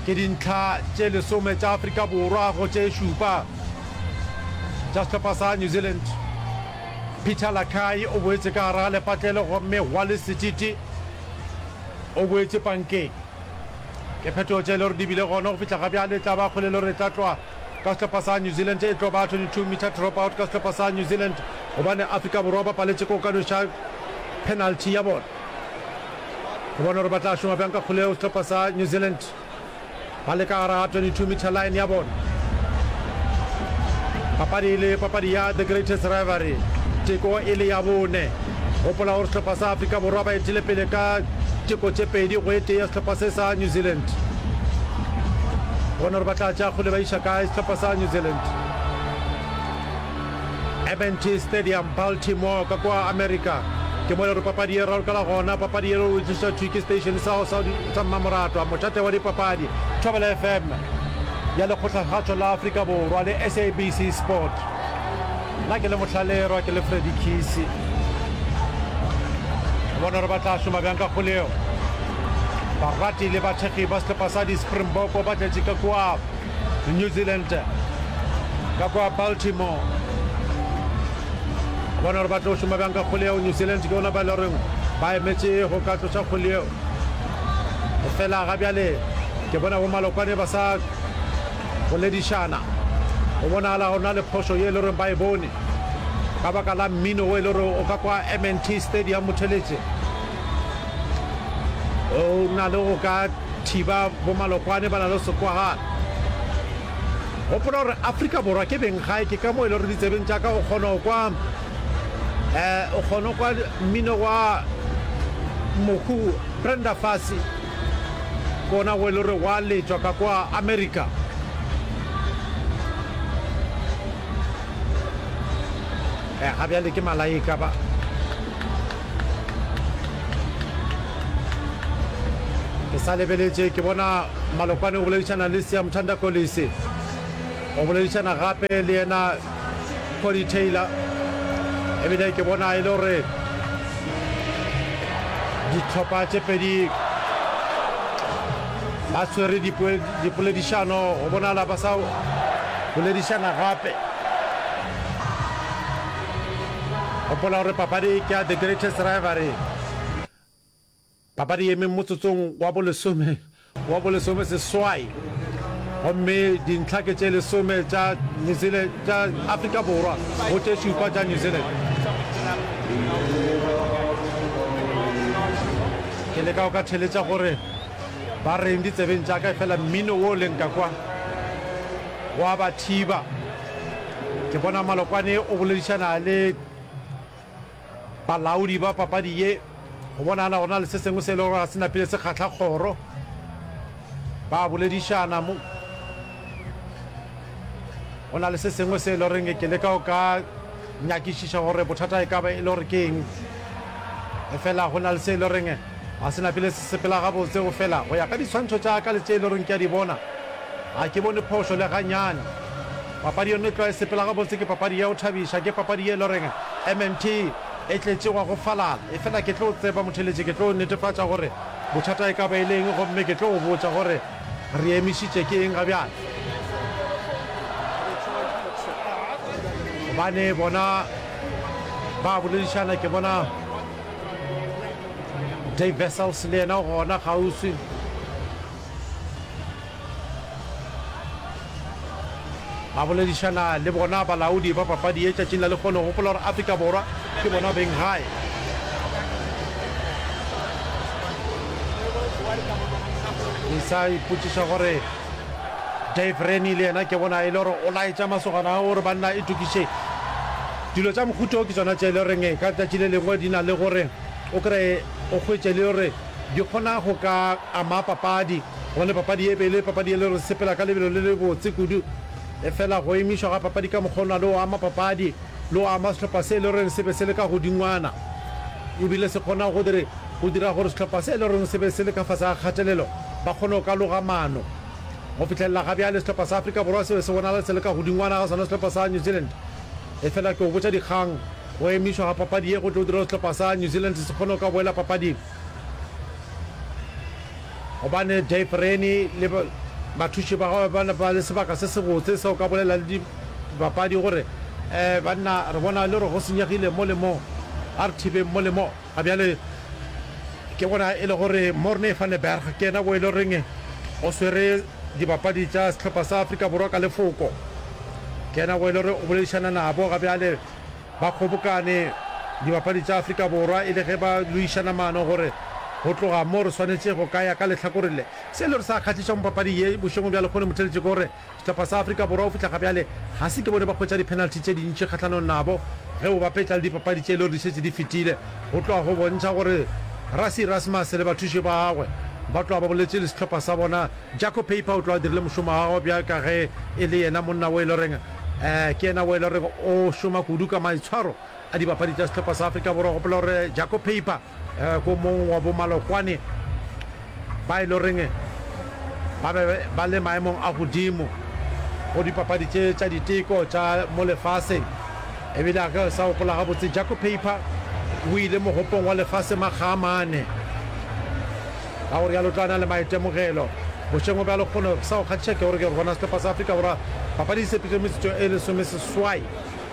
ke dintlha tše lesome tša Afrika Borwa go tše šupa tša sehlopha sa New Zealand. Peter Lakai o boetše ka gare ga lepatlelo gomme Wallace Sititi o boetše pankeng. Ke phetogo tše e le gore di bile gona go fihla ga bjale. E tla ba kgole e le gore e tla tloga ka sehlopha sa New Zealand, e tlo ba twenty-two meter drop out ka sehlopha sa New Zealand gobane Afrika Borwa ba paletše ke go ka noša penalty ya bona. Re bone gore ba tla šoma bjang ka kgole yeo sehlopha sa New Zealand ba le ka gare ga twenty-two meter line ya bona. Papadi e le papadi ya The Greatest Rivalry, teko e le ya bone. Gopola gore sehlopha sa Afrika Borwa ba etile pele ka teko tše pedi go e tee ya sehlopha se sa New Zealand. Bone gore ba tla tšea kgole ba iša kae sehlopha sa New Zealand. M and T Stadium, Baltimore, ka kua Amerika, ke mo e le gore papadi e ralokela gona. Papadi ye o tlišwa thwi ke station sa sa sa mmamoratwa, mošate wa dipapadi, Thobela F M ya Lekgotlakgašo la Afrika Borwa le S A B C Sport. Nna ke le Mohlalerwa, ke le Freddy Khisi. Re bone gore ba tla šoma bjang ka kgole yeo. Barati le bathekgi ba sehlopha sa di-Springbok ba tletše ka kua New Zealand, ka kua Baltimore. Bona gore ba tlo šoma bjang ka kgole yeo. New Zealand ke bona ba e le goreng ba emetše go ka tloša kgole yeo. Fela ga bjale ke bona bo Malokwane ba sa boledišana. Go bonagala go na le phošo ye e le goreng ba e bone ka baka la mmino wo e le gore o ka kwa M and T Stadium motheletše. O na le go ka thiba bo Malokwane ba na le sekwagala. Gopola gore Afrika Borwa ke beng gae, ke ka mo e le gore ditsebeng tša ka o kgona go kwa eh, o kgona go kwa mmino wa mohu Brenda Fassie, ke ona go e le gore wa letšwa ka kwa Amerika. Eh, ga bjale ke malaika ba. Ke sa lebeletše, ke bona Malokwane o boledišana le Siyamthanda Kolisi. O boledišana gape le yena Cody Taylor. Ebile ke bona e le gore dihlopha tše pedi ba swere dipoledišano, go bonala ba sa boledišana gape. Gopola gore papadi ke ya The Greatest Rivalry. Papadi e eme motsotsong wa bolesome wa bolesome seswai gomme dintlha ke tše lesome tša New Zealand tša Afrika Borwa go tše šupa tša New Zealand. Ke leka go ka theletša gore ba reng ditsebeng tša ka efela mmino wo leng ka kwa wa ba thiba. Ke bona Malokwane o boledišana le Balaodi ba papadi ye go bonagala go na le se sengwe se e lego gore ga se napile se kgahla kgoro. Ba boledišana mo. Go na le se sengwe se e le goreng ke leka go ka nyakišiša gore bothata e ka ba e le gore ke eng. Efela go na le se e le goreng ga se napile se sepela gabotse go fela go ya ka diswantšho tša ka le tše e le goreng ke a di bona. Ga ke bone phošo le ganyane. Papadi yone e tloga e sepela gabotse, ke papadi ya go thabiša, ke papadi ye e le goreng M M T e tletše wa go falala. Efela ke tlo tseba motheeletši, ke tlo netefatša gore bothata e ka ba e le eng gomme ke tlo go botša gore re emišitše ke eng gabjale. Gobane bona ba boledišana, ke bona Dave Wessels le yena o gona kgauswi. Ba boledišana le bona balaodi ba papadi ye tšatšing la lehono. Gopola gore Afrika Borwa ke bona beng gae. Ke sa ipotšiša gore Dave Rennie le yena ke bona e le gore o laetša masogana ao gore banna itokišeng. Dilo tša mohuta wo ke tšona tše e le goreng ka tšatši le lengwe di na le gore o kreye o hwetše le gore di kgona go ka ama papadi, gobane papadi e be e le papadi e le gore sepela ka lebelo le lebotse kudu. Efela go emišwa ga papadi ka mokgwa ona le go ama papadi le go ama sehlopha se e le goreng se be se le ka godingwana, ebile se kgona go dire go dira gore sehlopha se e le goreng se be se le ka fase ga kgatelelo ba kgone go ka loga maano. Go fihlelela ga bjale sehlopha sa Afrika Borwa se be se bonala se le ka godingwana ga sona sehlopha sa New Zealand. Efela ke go botša dikgang, go emišwa ga papadi ye go tlo dira gore sehlopha sa New Zealand se kgone go ka boela papading. Gobane Dave Rennie le bathuši ba gagwe ba ba le sebaka se sebotse sa go ka bolela le dibapadi gore, Eh, banna, re bona le gore go senyegile mo le mo. A re thibeng mo le mo. Ga bjale ke bona e le gore Morne van der Berg ke yena wo e le goreng o swere dibapadi tša sehlopha sa Afrika Borwa ka lefoko. Ke yena wo e le gore o boledišana nabo ga bjale. Ba kgobokane dibapadi tša Afrika Borwa e le ge ba loišana maano gore go tloga mo re swanetše go ka ya ka lehlakoreng le. Se e le gore sa kgahliša mo papading ye bošegong bja lehono motheeletši ke gore sehlopha sa Afrika Borwa go fihla gabjale ga se ke bone ba hwetša di-penalty tše dintši kgahlanong nabo ge o bapetša le dipapadi tše e le gore di šetše di fetile. Go tloga go bontšha gore Rassie Erasmus le bathuši ba gagwe ba tloga ba boletše le sehlopha sa bona. Jaco Peyper o tloga a dirile mošomo wa gagwe bjalo ka ge e le yena monna wo e le goreng Ke yena wo e le gorego o šoma kudu ka maitshwaro a dibapadi tša sehlopha sa Afrika Borwa. Gopola gore Jaco Peyper ke o mongwe wa bomalokwane ba e le goreng ba be ba le maemong a godimo go dipapadi tše tša diteko tša mo lefaseng. Ebile a ke sa gopola gabotse, Jaco Peyper o ile mogopong wa lefase makga a mane. Ka go realo o tla na le maitemogelo. Bošego bja lekgono sa go kgahliša ke gore ke re bona sehlopha sa Afrika Borwa papadi e sepetše metsotso e lesomeseswai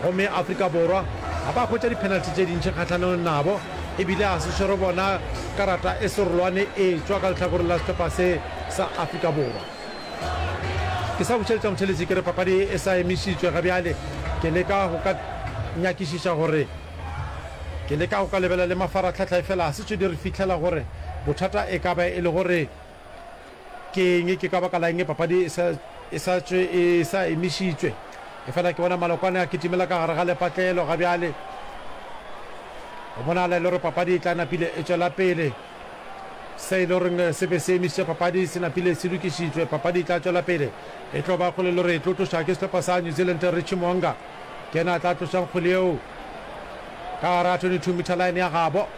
gomme Afrika Borwa ga ba hwetša di-penalty tše dintši kgahlanong nabo ebile ga se swere bona karata e serolwane e tšwa ka lehlakoreng la sehlopha se sa Afrika Borwa. Ke sa bušeletša motheeletši ke re papadi e sa emišitšwe ga bjale ke leka go ka nyakišiša gore Ke leka go ka lebelela le mafarahlahla efela ga se tšo di re fihlela gore bothata e ka ba e le gore ke eng, ke ka baka la eng papadi e sa, e sa tšwe e sa emišitšwe. Efela ke bona malokwane a kitimela ka gare ga lepatlelo ga bjale. Go bonagala e le gore papadi e tla napile e tšwela pele. Se e le goreng se be se emišitše papadi se napile se lokišitšwe. Papadi e tla tšwela pele. E tlo ba kgole le gore e tlo tloša ke sehlopha sa New Zealand Richie Mo'unga. Ke yena a tla tlošang kgwele yeo ka gare ga twenty-two meter line ya gabo.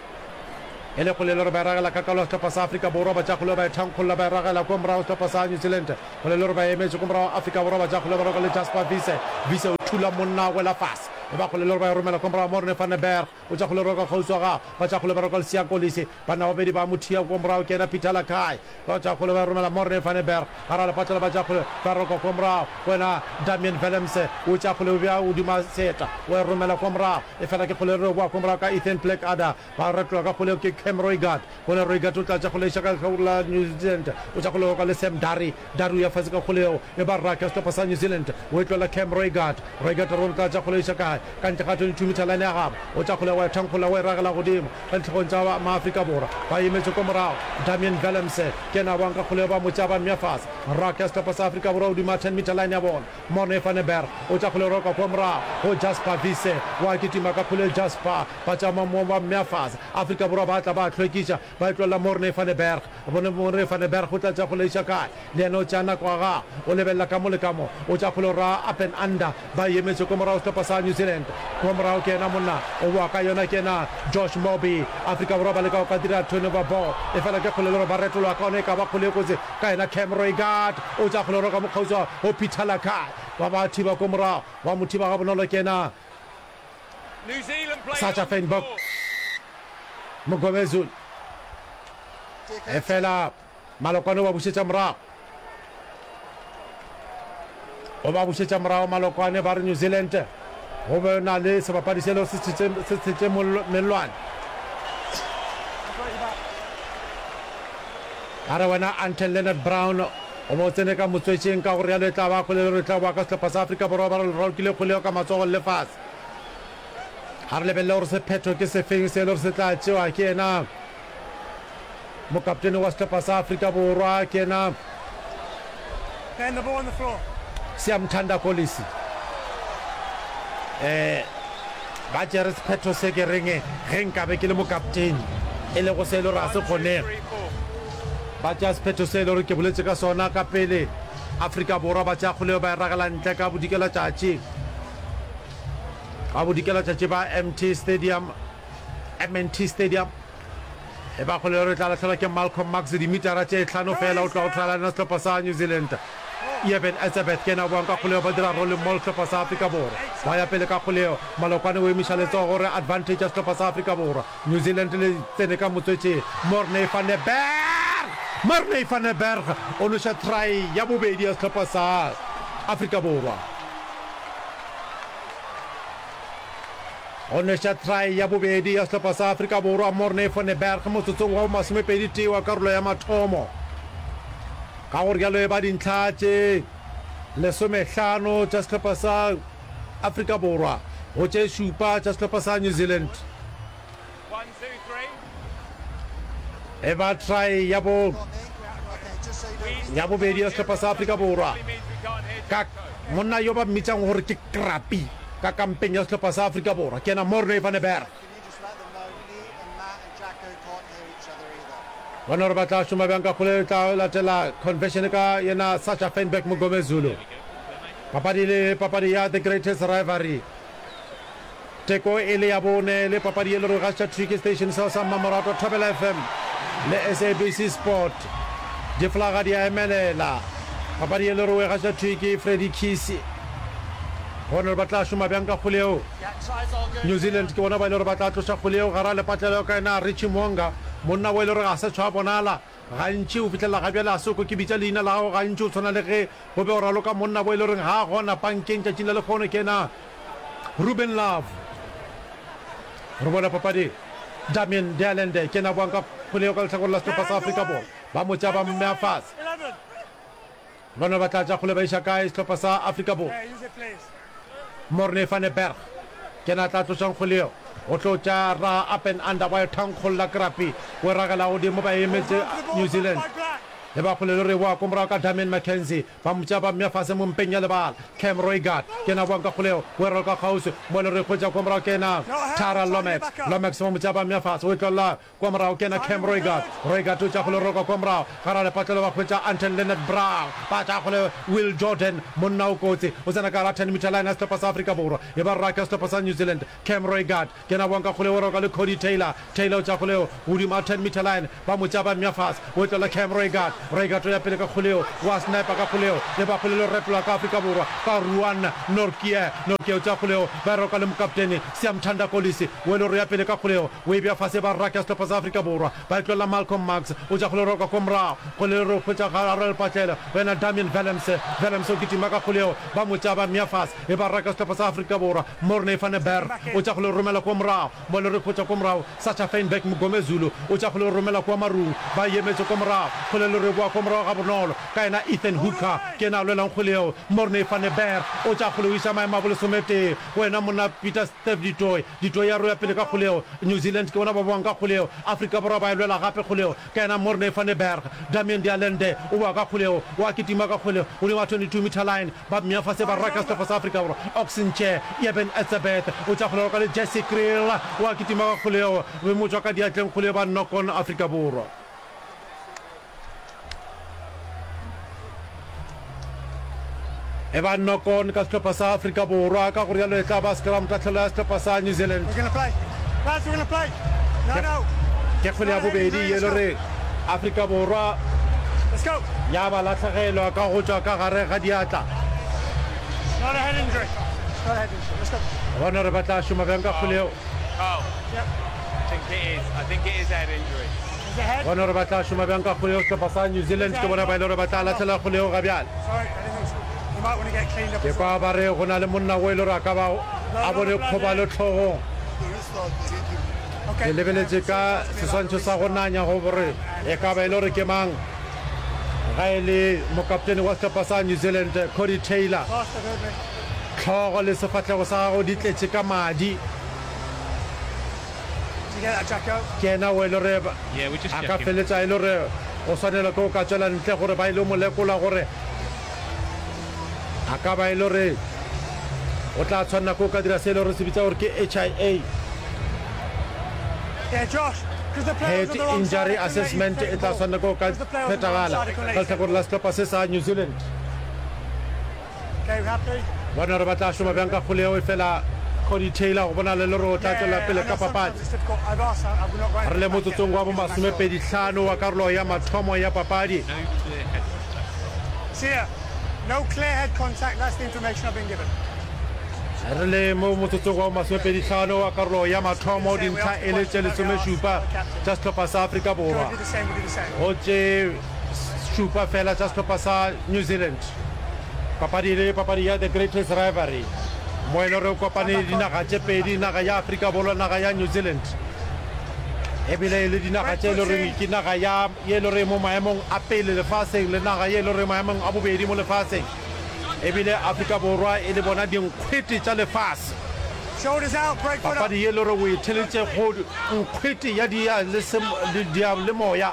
E le kgole le gore ba e ragela ka kalo ya sehlopha sa Afrika Borwa, ba tša kgole ba e thankgolla ba e ragela kua morago sehlopha sa New Zealand. Kgole le gore ba e emetše kua morago Afrika Borwa, ba tša kgole ba roka le Jasper Wiese. Wiese o thula monna a wela fase. E ba kgole le gore ba e romela kua morago Morne van der Berg o tša kgole roka kgauswi wa gagwe. Ba tša kgole ba roka le Siya Kolisi. Banna ba babedi ba mo thia kua morago ke yena Peter Lakai. Ba tša kgole ba e romela Morne van der Berg gare ga lepatlelo ba tša kgole ba roka kua morago go yena Damian Willemse o tša kgole o bea godimo seeta o e romela kua morago efela ke kgole re boa kua morago ka Ethan Blackadder ba retola ka kgole ke Cam Roigard gone Roigard o tla tša kgole iša ka lehlakore la New Zealand o tša kgole roka le Sam Darry Darry o ya fase ka kgole yeo e ba raka sehlopha sa New Zealand o e tlola Cam Roigard Roigard re bone tla tša kgole iša kae ka ntle ga twenty-two meter line ya gabo o tša kgole wa e thankgolla o e ragela godimo ka dihlogong tša Maafrika Borwa ba emetše ko morago Damian Willemse ke yena a boang ka kgole ba mo tšea ba mmea fase raka ya sehlopha sa Afrika Borwa godimo ga ten meter line ya bona Morne van der Berg o tša kgole roka kwa morago go Jasper Wiese wa kitima ka kgole Jasper ba tšama mo ba mmea fase Afrika Borwa ba tla ba hlwekiša ba e tlolela Morne van der Berg bone Morne van der Berg o tla tša kgole iša kae le yena o tšea nako ya gagwe o lebelela ka mo le ka mo o tša kgole ra up and under ba emetše kwa morago sehlopha sa New Zealand kwa morago ke yena monna o boa ka yona ke yena Josh Moby Afrika Borwa ba leka go ka dira turnover ball e fela ke kgole le gore ba retolwa ka yona e ka ba kgole e kotsi ka yena Cam Roigard o tša kgole roka mo kgauswi go Peter Lakai ba ba thiba ko morago wa mo thiba ga bonolo ke yena New Zealand play Sacha on the Feinberg floor. Mngomezulu e fela Malokwane o ba bušetša morago o ba bušetša morago Malokwane ba re New Zealand go be na le sebapadi se le se tshetše se tshetše mellwane a re wena Anton Leonard Brown o bo tsene ka motswetšeng ka gore yalo e tla ba kgole le re tla boa ka sehlopha sa Afrika Borwa ba re le ralokile kgole eo ka matsogong le fase a re lebelele gore sephetho ke sefeng se e le gore se tla tšewa ke yena mokaptene wa sehlopha sa Afrika Borwa ke yena Ben, the ball on the floor. Siyamthanda Kolisi eh ba tšere sephetho se ke reng ge nkabe ke le mokaptene e lego se e le gore ga se kgonege Three, four. ba tšea sephetho se e le gore ke boletse ka sona ka pele Afrika Borwa ba tšea kgoleo ba e ragela ntle ka bodikelatšatši ka bodikelatšatši ba M T Stadium M N T Stadium e ba kgole re tla lahlelwa ke Malcolm Marx dimitara tše hlano fela o tloga go thala lena sehlopha sa New Zealand Eben Etzebeth ke yena a boang ka kgoleo ba dira rolling maul sehlopha sa Afrika Borwa ba ya pele ka kgoleo Malokwane o emiša letsogo gore advantage ya sehlopha sa Afrika Borwa New Zealand le tsene ka motswetšeng Morne van der Berg Morne van der Berg o noša try ya bobedi ya sehlopha sa Afrika Borwa o noša try ya bobedi ya sehlopha sa Afrika Borwa Morne van der Berg motsotsong wa masomepedi tee wa karolo ya mathomo ka gore jalo e ba dintlha tše lesomehlano tša sehlopha sa Afrika Borwa go tše šupa tša sehlopha sa New Zealand One, two, three. e ba try ya bo ya bobedi ya sehlopha sa Afrika Borwa Means we can't hear ka monna yo ba mmitšang gore ke Krapi ka kampeng ya sehlopha sa Afrika Borwa ke yena Morne van der Berg Can you just let them know me and Matt and Jacko can't hear each other either? bona gore ba tla šoma bjang ka kgole tla latela conversion ka yena Sacha Feinberg Mngomezulu papadi le papadi ya the greatest rivalry teko e le ya bone le papadi e le gore gaša tricky station seo sa mmamorato Thobela F M le S A B C Sport diflaga di a emelela papadi e le gore gaša tricky Freddy Kisi gone gore ba tla šoma bjang ka kgole eo Yeah, tries all good. New Zealand ke bona ba ile gore ba tla tloša kgole eo gara lepatlelo ka yena Richie Mo'unga monna wa ile gore ga se tshwa bonala gantši o fihlelela ga bjale a se ko ke bitša leina la gago gantši o tshwana le ge go be o raloka monna bo e le goreng ga a gona pankeng tšatšing la lekgono ke yena Ruben Love re bona papadi Damian de Allende ke yena boang ka kgole eo ka lehlakore la sehlopha sa Afrika Borwa ba mo tšea ba mmea fase Eleven. bona ba tla tša kgole ba iša kae sehlopha sa Afrika Borwa Yeah, use it, please. Morne van der Berg ke yena a tla tlošang kgole eo o tlo tša ra up and under wa e thankgolla krapi o e ragela godimo ba emetše The ball New back Zealand by Black. E ba kgole le re boa ko morago ka Damian McKenzie. Ba mo tšea ba mmea fase mo mpeng ya lebala. Cam Roigard ke yena a boang ka kgoleo. O e raloka kgauswi mo le re hwetša ko morago ke yena Tyrell Lomax. Lomax ba mo tšea ba mmea fase. O e tlolla kwa morago ke yena Cam Roigard. Roigard o tšea kgole o raloka kwa morago. Gare ga lepatlelo ba hwetša Anton Lienert-Brown. Ba tšea kgole Will Jordan. Monna o kotsi. O tsena ka gare ga ten meter line ya sehlopha sa Afrika Borwa. E ba raka sehlopha sa New Zealand. Cam Roigard ke yena a boang ka kgole o roka le Codie Taylor. Taylor o tšea kgole yeo godimo ga ten meter line. Ba mo tšea ba mmea fase. O tlola Cam Roigard. Roigard o ya pele ka kgole yeo. Wa sniper ka kgole yeo. E ba kgole le retlola ka Afrika Borwa ka Ruan Nortje. Nortje o tšea kgole yeo. Ba e roka le mokaptene Siyamthanda Kolisi. O e le gore o ya pele ka kgole yeo. O e bea fase e ba raka sehlopha sa Afrika Borwa. Ba e tlolela Malcolm Marx. O tšea kgole o roka ko morago. Kgole le re hwetša gare lepatlelo. Wena Damian Willemse. Willemse o kitima ka kgole yeo. Ba mo tšea ba mmea fase. E ba raka sehlopha sa Afrika Borwa. Morne van der Berg o tša go le romela kua morago. Mo le re hwetša kua morago Sacha Feinberg Mngomezulu o tša go le romela kua marung. Ba emetše kua morago. Kgole le re boa kua morago gabonolo ka yena Ethan Hooker ke yena a lwelang kgwele yeo. Morne van der Berg o tša kgole o iša maemo a bolesometee. Wena monna Peter Steph du Toit. Du Toit ya roya pele ka kgwele yeo. New Zealand ke bona ba boang ka kgwele yeo. Afrika Borwa ba e lwela gape kgwele yeo ka yena Morne van der Berg. Damian de Allende o boa ka kgwele yeo. O a kitima ka kgwele godimo ga twenty two meter line. Ba mmea fase ba raka sehlopha sa Afrika Borwa. Ox Nche, Eben Etzebeth o tša kgole ka le Jesse Kriel o a kitima ka kgole yeo be mo tšwa ka diatleng kgole ba knock-on Afrika Borwa. E ba knock-on ka sehlopha sa Afrika Borwa, ka go rialo e tla ba scrum tahlelo ya sehlopha sa New Zealand. Ke kgwele ya bobedi ye le re Afrika Borwa ya ba lahlegelwa ka go tšwa ka gare ga diatla. Bona gore ba tla šoma bjang ka kgwele yeo. Bona gore ba tla šoma bjang ka kgwele yeo. Sehlopha sa New Zealand ke bona ba e le gore ba tla lahlela kgwele yeo ga bjale. Ke kwa ba re go na le monna wo e le gore a ka ba a bone kgobalo hlogong. Ke lebeletše ka seswantšho sa go nanya go gore e ka ba e le gore ke mang ga e le mokaptene wa sehlopha sa New Zealand Codie Taylor. Hlogo le sefahlego sa gagwe di tletše ka madi. Ke yena o e le gore a ka feletša e le gore o swanelwa ke go ka tšwela ntle gore ba ile mo lekola gore a ka ba e le gore o tla tshwanela ke go ka dira se e le gore se bitsa gore ke H I A. Head Injury Assessment e tla tshwanela ke go ka phethagala ka lehlakore la sehlopha se sa New Zealand. Bona gore ba tla šoma bjang ka kgole yeo, efela Codie Taylor go bonala e le gore o tla tšwela pele ka papadi. Re le motsotsong wa bomasomepedi hlano wa karolo ya mathomo ya papadi. Re le mo motsotsong wa bomasomepedi hlano wa karolo ya mathomo, dintlha e le tše lesomešupa tša sehlopha sa Afrika Borwa go tše šupa fela tša sehlopha sa New Zealand. Papadi e le papadi ya The Greatest Rivalry mo e le gore kopane dinaga tše pedi, naga ya Afrika Borwa le naga ya New Zealand. Ebile e le dinaga tše e le goreng ke naga ya ye e le gore mo maemong a pele lefaseng le naga ye e le gore maemong a bobedi mo lefaseng. Ebile Afrika Borwa e le bona dinkgwete tša lefase. Papadi ye e le gore o e theletše go nkgwete ya diyalemoya,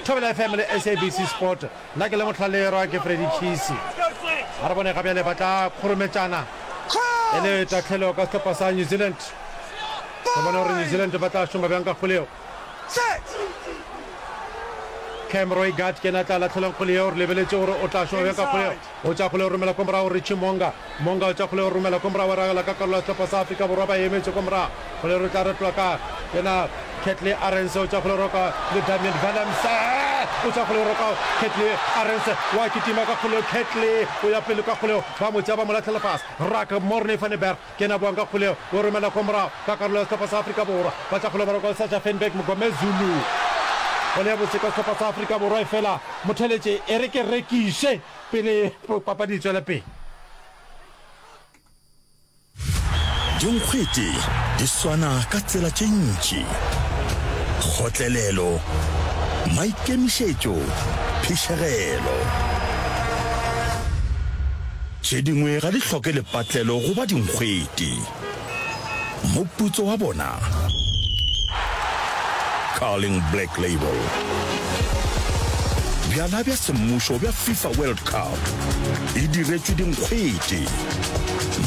Thobela F M le S A B C Sport. Nna ke le mohlalerwa ke Freddy Chisi. A re bone ga bjale ba tla kgorometšana e le tahlelo ka sehlopha sa New Zealand. Re bone gore New Zealand ba tla šoma bjang ka kgwele yeo. Cam Roigard ke yena a tla lahlelang kgwele yeo. Re lebeletše gore o tla šoma bjang ka kgwele yeo. O tša kgwele o romela ko morago Richie Monga. Monga o tša kgwele o romela ko morago, a ragela ka karolo ya sehlopha sa Afrika Borwa ba emetše ko morago. Kgwele re tla retolwa ka yena Kurt-Lee Arendse o tša kgwele roka le Damian Willemse. O tša kgwele roka Kurt-Lee Arendse wa kitima ka kgwele Kurt-Lee o ya pele ka kgwele ba mo tšea ba mo lahlela fase. Ruck Morne van der Berg ke yena a boang ka kgwele o romela ko morago ka karolo ya sehlopha sa Afrika Borwa. Ba tša kgwele ba roka le Sacha Feinberg Mngomezulu. Kgwele ya botse ka sehlopha sa Afrika Borwa efela motheletše e re ke rekiše pele papadi e tšwela pele. Dinkgwete di swana ka tsela tše ntši, kgotlelelo, maikemišetšo, phišegelo. Tše dingwe ga di hloke lepatlelo go ba dinkgwete. Moputso wa bona? Carling Black Label. Bjala bja semmušo bja FIFA World Cup e diretšwe dinkgwete.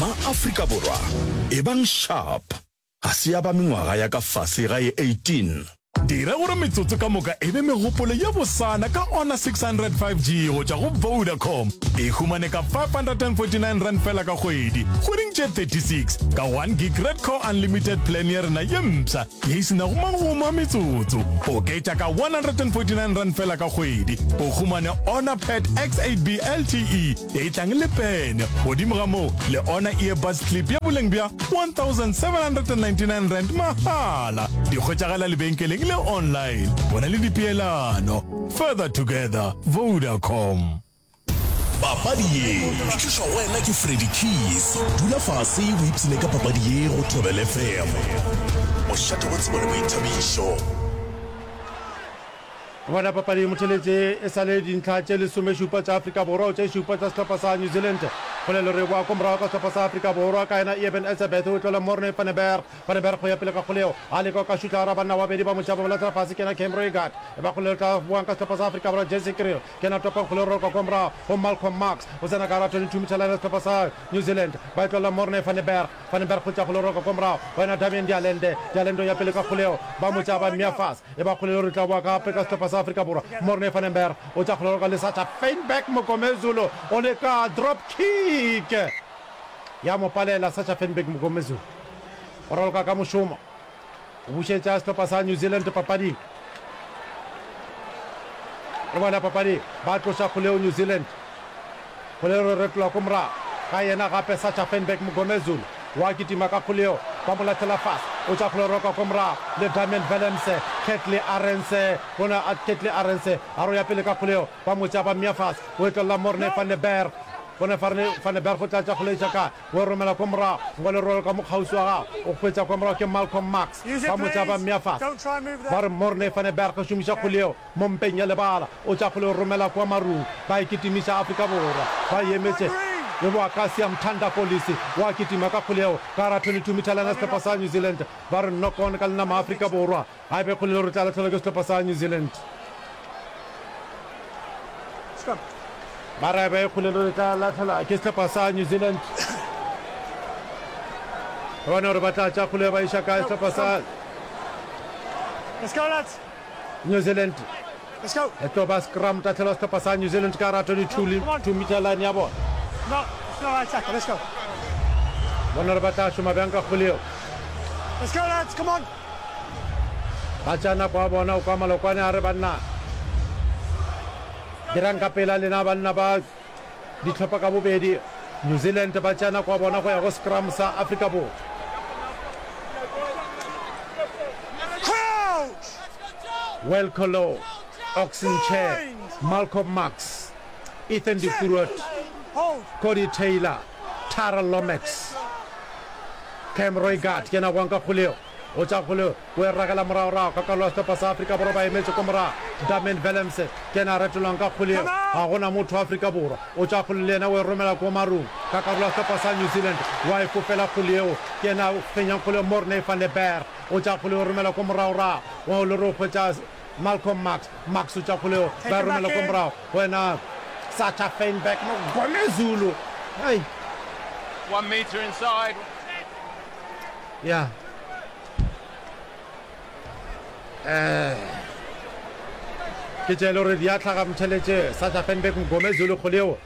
Ma-Afrika Borwa, ebang sharp! Ga se ya ba mengwaga ya ka fase ga ye eighteen. Dira gore metsotso ka moka e be megopolo ye bosana ka Honor six hundred five G go tšwa go Vodacom. E humane ka five hundred and forty nine rand fela ka kgwedi, kgweding tše thirty six, ka one gig Redco Unlimited plan ya rena ye mpsha ye e se nago magomo a metsotso. Oketša ka one hundred and forty nine rand fela ka kgwedi, o humane Honor Pad X eight B L T E ye e tlang le pene, godimo ga moo le Honor Earbuds Clip ya boleng bja one thousand seven hundred and ninety nine rand mahala. Di hwetšagala lebenkeleng le online. Bona le dipeelano. Further together, Vodacom. Papadi ye e tlišwa go wena ke Freddy Keys. Dula fase o ipshine ka papadi ye go Thobela F M. Mošate wa tsebo le boithabišo. Bona papadi e motheletše e sa le dintlha tše lesomešupa tša Afrika Borwa tše šupa tša sehlopha sa New Zealand. Kgolelo re boa ko morago ka sehlopha sa Afrika Borwa ka yena Eben Etzebeth o tlola Morne van den Berg. Van den Berg go ya pele ka kgoleo a leka go ka šutla gara banna babedi ba motšaba ba lahlela fase ke yena Cam Roigard. E ba kgolelo tla boang ka sehlopha sa Afrika Borwa Jesse Kriel ke yena topang kgoleo roka ko morago go Malcolm Marx o tsena ka gara twenty-two meter line ya sehlopha sa New Zealand ba e tlola Morne van den Berg. Van den Berg go tša kgoleo roka ko morago go yena Damian de Allende. De Allende o ya pele ka kgoleo ba motšaba mmea fase. E ba kgolelo re tla boa gape ka sehlopha sa Afrika Borwa. Morne van den Berg o tša kgolelo ka Lesacha Feinberg Mngomezulu o leka drop kick ya mo palela. Sacha Feinberg Mngomezulu o raloka ka mošomo o bušetša sehlopha sa New Zealand papading. Re bona papadi ba tloša kgoleo New Zealand. Kgolelo re retola ko morago ga yena gape Sacha Feinberg Mngomezulu wa kitima ka kgoleo ba mo lahlela fase o tša kgoleo roka ko morago le Damian Willemse Kurt-Lee Arendse bona Kurt-Lee Arendse a ro ya pele ka kgoleo ba mo tša ba mmea fase o etlolla Morne van den Berg bona van den Berg o tla tša kgoleo iša kae o e romela ko morago ngwa le rolo ka mokgauswi wa gago o hwetša ko morago ke Malcolm Marx ba mo tša ba mmea fase ba re Morne van den Berg o šomiša kgoleo mo mpeng ya lebala o tša kgoleo romela kwa marung ba e kitimiša Afrika Borwa ba emetše le boa ka Siyamthanda Kolisi wa kitima ka kgoleo ka ra twenty-two meter line ya sehlopha sa New Zealand ba re knock on ka lenama Afrika Borwa ga e be kgolelo re tla lahlelwa ke sehlopha sa New Zealand ba re be kgolelo re tla lahlelwa ke sehlopha sa New Zealand re bone gore ba tla tša kgoleo ba iša kae sehlopha sa Let's go, lads. New Zealand. Let's go. E tlo ba scrum tahlelwa sehlopha sa New Zealand ka ra twenty-two meter line ya bona. No, it's not right tackle. Let's go. Bona gore ba tla šoma bjang ka kgoleo. Let's go, lads. Come on. Ba tša nako ya bona o kwa malokwane a re banna dirang ka pela lena banna ba dihlopha ka bobedi. New Zealand ba tša nako ya bona go ya go scrum sa Afrika Borwa. Wilco Louw, Oxen Chair, Malcolm Marx, Ethan de Groot, Cody Taylor, Tyrell Lomax, Cam Roigard ke yena gwang ka kgoleo o tša kgoleo o e ragela moragorago ka karolo ya sehlopha sa Afrika Borwa ba emetše ko morago. Damian Willemse ke yena a retolwang ka kgoleo ga gona motho wa Afrika Borwa o tša kgoleo le yena o e romela ko marung ka karolo ya sehlopha sa New Zealand wa e fofela kgoleo ke yena a fenyang kgoleo Morne van den Berg o tša kgoleo o romela ko moragorago wa o le re o hwetša Malcolm Marx. Marx o tša kgoleo ba e romela ko morago go yena Sacha Feinberg Mngomezulu. Hey. One meter inside. Yeah. Eh. Ke tše le gore di a hlaga motheletše Sacha Feinberg Mngomezulu kgoleo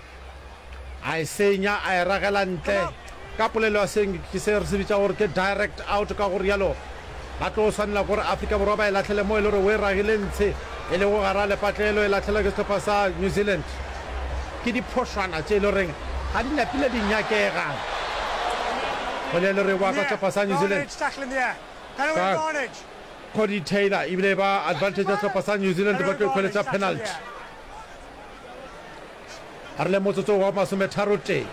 a e senya a e ragela ntle ka polelo ya seng ke se re se bitša gore ke direct out ka go rialo ba tlo swanela gore Afrika Borwa ba e lahlele mo e le gore o e ragile ntshe e lego gara lepatlelo e lahlelwa ke sehlopha sa New Zealand. Ke diphošwana tše e le goreng ga di napile di nyakega go le le re boa ka sehlopha sa New Zealand ka Cody Taylor ebile ba advantage ya sehlopha sa New Zealand ba tlo ikhweletša penalty. A re le motsotso wa masometharo-tee,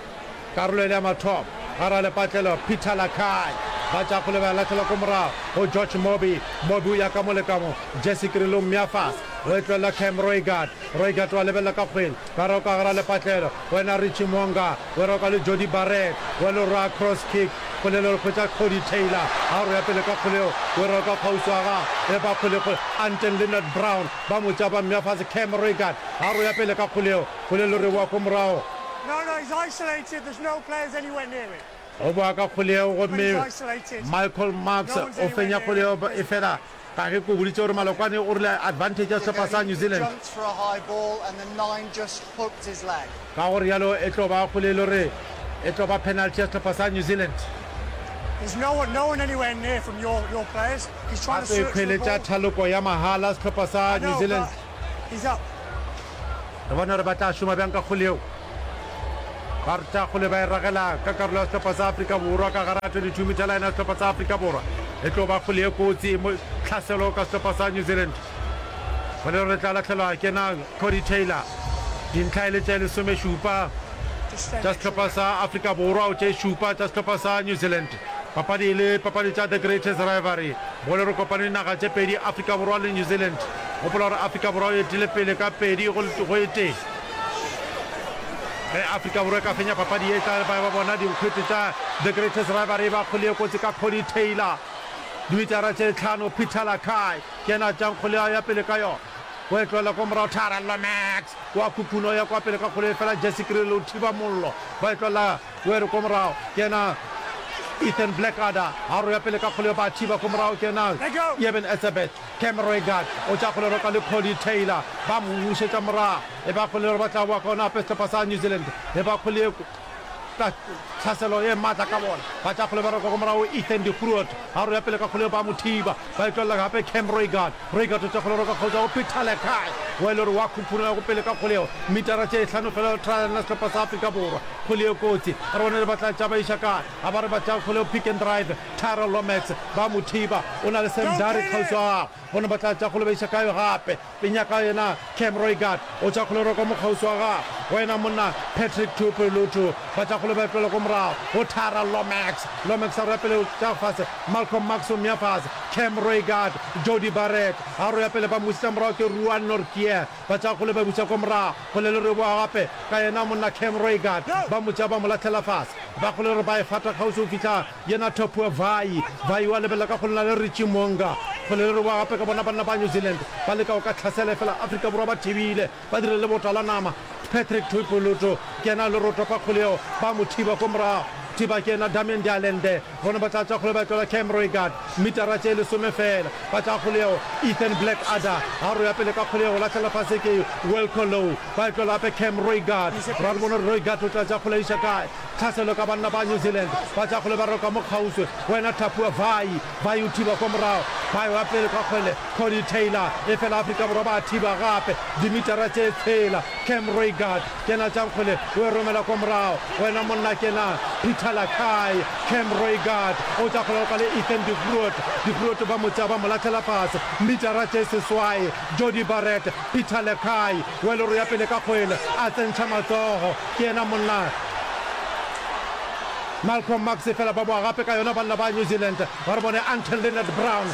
karolo e le ya mathomo, gare ga lepatlelo, Peter Lakai ba tša kgole ba lahlelwa ko morago go George Mobi. Mobi o ya ka mo le ka mo, Jesse Kriel o mmea fase, O e tlohela Cam Roigard. Roigard wa lebelela ka kgwele. Ba roka gara lepatlelo. Wena Richie Mo'unga. O roka le Jordie Barrett. Wa le ra cross kick. Kgwele le hwetša Codie Taylor. A re ya pele ka kgwele yeo. O roka kgauswi wa gagwe. E ba kgwele kgwele. Anton Lienert-Brown. Ba mo tšea ba mmea fase. Cam Roigard. A re ya pele ka kgwele yeo. Kgwele le re wa ko morago. No, no, he's isolated. There's no players anywhere near him. O boa ka kgwele yeo gomme Michael Marks o fenya kgwele yeo efela ka ge ke o boditše gore Malokwane o rile advantage ya sehlopha sa New Zealand. Ka go realo e tlo ba kgwele e le gore e tlo ba penalty ya sehlopha sa New Zealand. Ba tlo ikhweletša thaloko ya mahala sehlopha sa New Zealand. Re bone gore ba tla šoma bjang ka kgwele yeo. Ba re tša kgole ba e ragela ka karolo ya sehlopha sa Afrika Borwa ka gare ga twenty two meter line ya sehlopha sa Afrika Borwa. E tlo ba kgole ye kotsi mo tlhaselo ka sehlopha sa New Zealand. Kgole re tla lahlelwa ke na Codie Taylor. Dintlha e le tše lesomešupa tša sehlopha sa Afrika Borwa o tše šupa tša sehlopha sa New Zealand. Papadi e le papadi tša The Greatest Rivalry. Bole re kopane dinaga tše pedi Afrika Borwa le New Zealand. Gopola gore Afrika Borwa e etile pele ka pedi go e tee. Ge Afrika Borwa e ka fenya papadi ye, e tla ba ba bona dinkgwete tša The Greatest Rivalry ba kgole ye kotsi ka Codie Taylor. Dimitara tše tlhano, Peter Lakai ke yena a tšeang kgole a ya pele ka yona. O e tlohela kwa morago, Tyrell Lomax wa khukhuna o ya kwa pele ka kgole efela Jesse Kriel o thiba mollo. Ba e tlohela o e re kwa morago ke yena Ethan Blackadder a ro ya pele ka kgole ba thiba kwa morago ke yena Eben Etzebeth. Cam Roigard o tša kgole roka le Codie Taylor ba mo bušetša morago. E ba kgole gore ba tla boa ka ona gape sehlopha sa New Zealand. E ba kgole ye ka tlhaselo ye maatla ka bona. Ba tša kgole ba roka kwa morago Ethan de Groot a ro ya pele ka kgole ba mo thiba. Ba e tlolela gape Cam Roigard. Roigard o tša kgole roka kgauswi go Peter Lakai wa e le gore wa khukhuna go pele ka kgole yeo. Metara tše hlano fela try-na sehlopha sa Afrika Borwa. Kgole ye kotsi. Re bone re ba tla tša ba iša kae. A ba re ba tša kgole yeo pick and drive. Tyrell Lomax ba mo thiba. O na le Sam Darry kgauswi wa gagwe. Bona ba tla tša kgole ba iša kae gape. Penyaka yena Cam Roigard o tša kgole roka mo kgauswi wa gagwe. Go yena monna Patrick Tuipulotu. Ba tša kgole ba tlola ko morago go Tyrell Lomax. Lomax a roya pele tša fase. Malcolm Marx o mmea fase. Cam Roigard, Jordie Barrett a roya pele ba mmušetša morago ke Ruan Nortje. Ba tša kgole ba buša ko morago. Kgole le reboa gape ka yena monna Cam Roigard. Ba mo tšea ba mo lahlela fase. Ba kgole re ba e fata kgauswi go fihla yena Topua Vai. Vai wa lebelela ka kgole na le Richie Mo'unga. Kgole le reboa gape ka bona banna ba New Zealand ba leka go ka hlasela efela Afrika Borwa ba thibile. Ba dirile lebota la nama. Patrick Tuipulotu ke yena le rotopa kgole yeo. Ba mo thiba ko morago. Thiba ke yena Damian de Allende. Bona ba tla tša kgole ba tlola Cam Roigard. Metara tše lesome feela. Ba tša kgole yeo Ethan Blackadder. A roya pele ka kgole yeo. Lahlela fase ke Wilco Louw. Ba e tlola gape Cam Roigard. Ra re bone gore Roigard o tla tša kgole a iša kae. Tlhaselo ka banna ba New Zealand. Ba tša kgole ba roka mo kgauswi. Wena Thapua Vai. Vai o thiba kwa morago. Ba ewa pele ka kgwele. Codie Taylor. Efela Afrika Borwa ba thiba gape. Dimitara tše tshela. Cam Roigard. Ke yena tšang kgwele o e romela kwa morago. Wena monna ke yena Peter Lakai. Cam Roigard o tša kgwele roka le Ethan de Groot. De Groot ba mo tšea ba mo lahlela fase. Mitara tše seswai. Jordie Barrett. Peter Lakai. Weloro ya pele ka kgwele. A tsentšha matsogo. Ke yena monna Malcolm Marx efela ba boa gape ka yona banna ba New Zealand ba re bone Anton Lienert-Brown.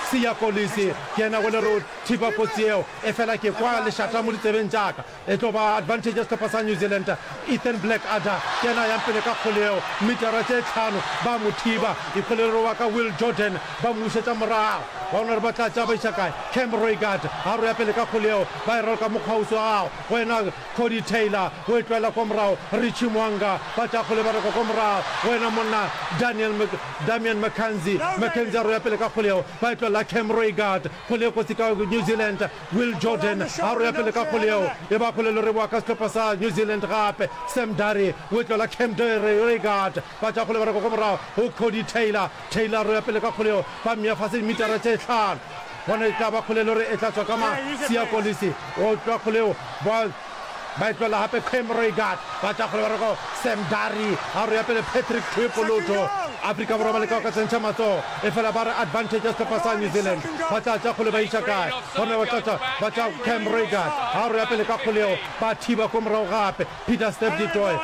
Siya Kolisi ke yena go le re o thiba kotsi yeo efela ke kwa lešata mo ditsebeng tša ka. E tlo ba advantage ya sehlopha sa New Zealand. Ethan Blackadder ke yena a yang pele ka kgole yeo metara tše tlhano ba mo thiba. Ikgole re wa ka Will Jordan ba mmušetša morago. Ba bona gore ba tla tšea ba iša kae. Cam Roigard a re ya pele ka kgole yeo ba e raloka mokgwauswi wa gagwe go yena Codie Taylor o e tlwaela kwa morago, Richie Mo'unga ba tša kgole ba reka kwa morago, go yena monna Daniel Damian McKenzie, McKenzie a roya pele ka kgole yeo, ba e tlwaela Cam Roigard, kgole e kotsi ka New Zealand, Will Jordan a roya pele ka kgole yeo, e ba kgole loreboa ka sehlopha sa New Zealand gape, Sam Darry o e tlwaela Cam Roigard, ba tša kgole ba reka kwa morago go Codie Taylor, Taylor a roya pele ka kgole yeo, ba mmea fase dimitara tše hlano. Gona e tla ba kgole le gore e tla tswa ka ma Siya Kolisi o tloa kgole eo ba ba e tloela gape Cam Roigard ba tša kgole ba re go Sam Darry a roya pele Patrick Tuipulotu Afrika Borwa ba leka go ka tsentšha matsogo efela ba re advantage ya sehlopha sa New Zealand ba tla tša kgole ba iša kae gona ba tla tša ba tša Cam Roigard a roya pele ka kgole eo ba thiba ko morago gape Peter Steph du Toit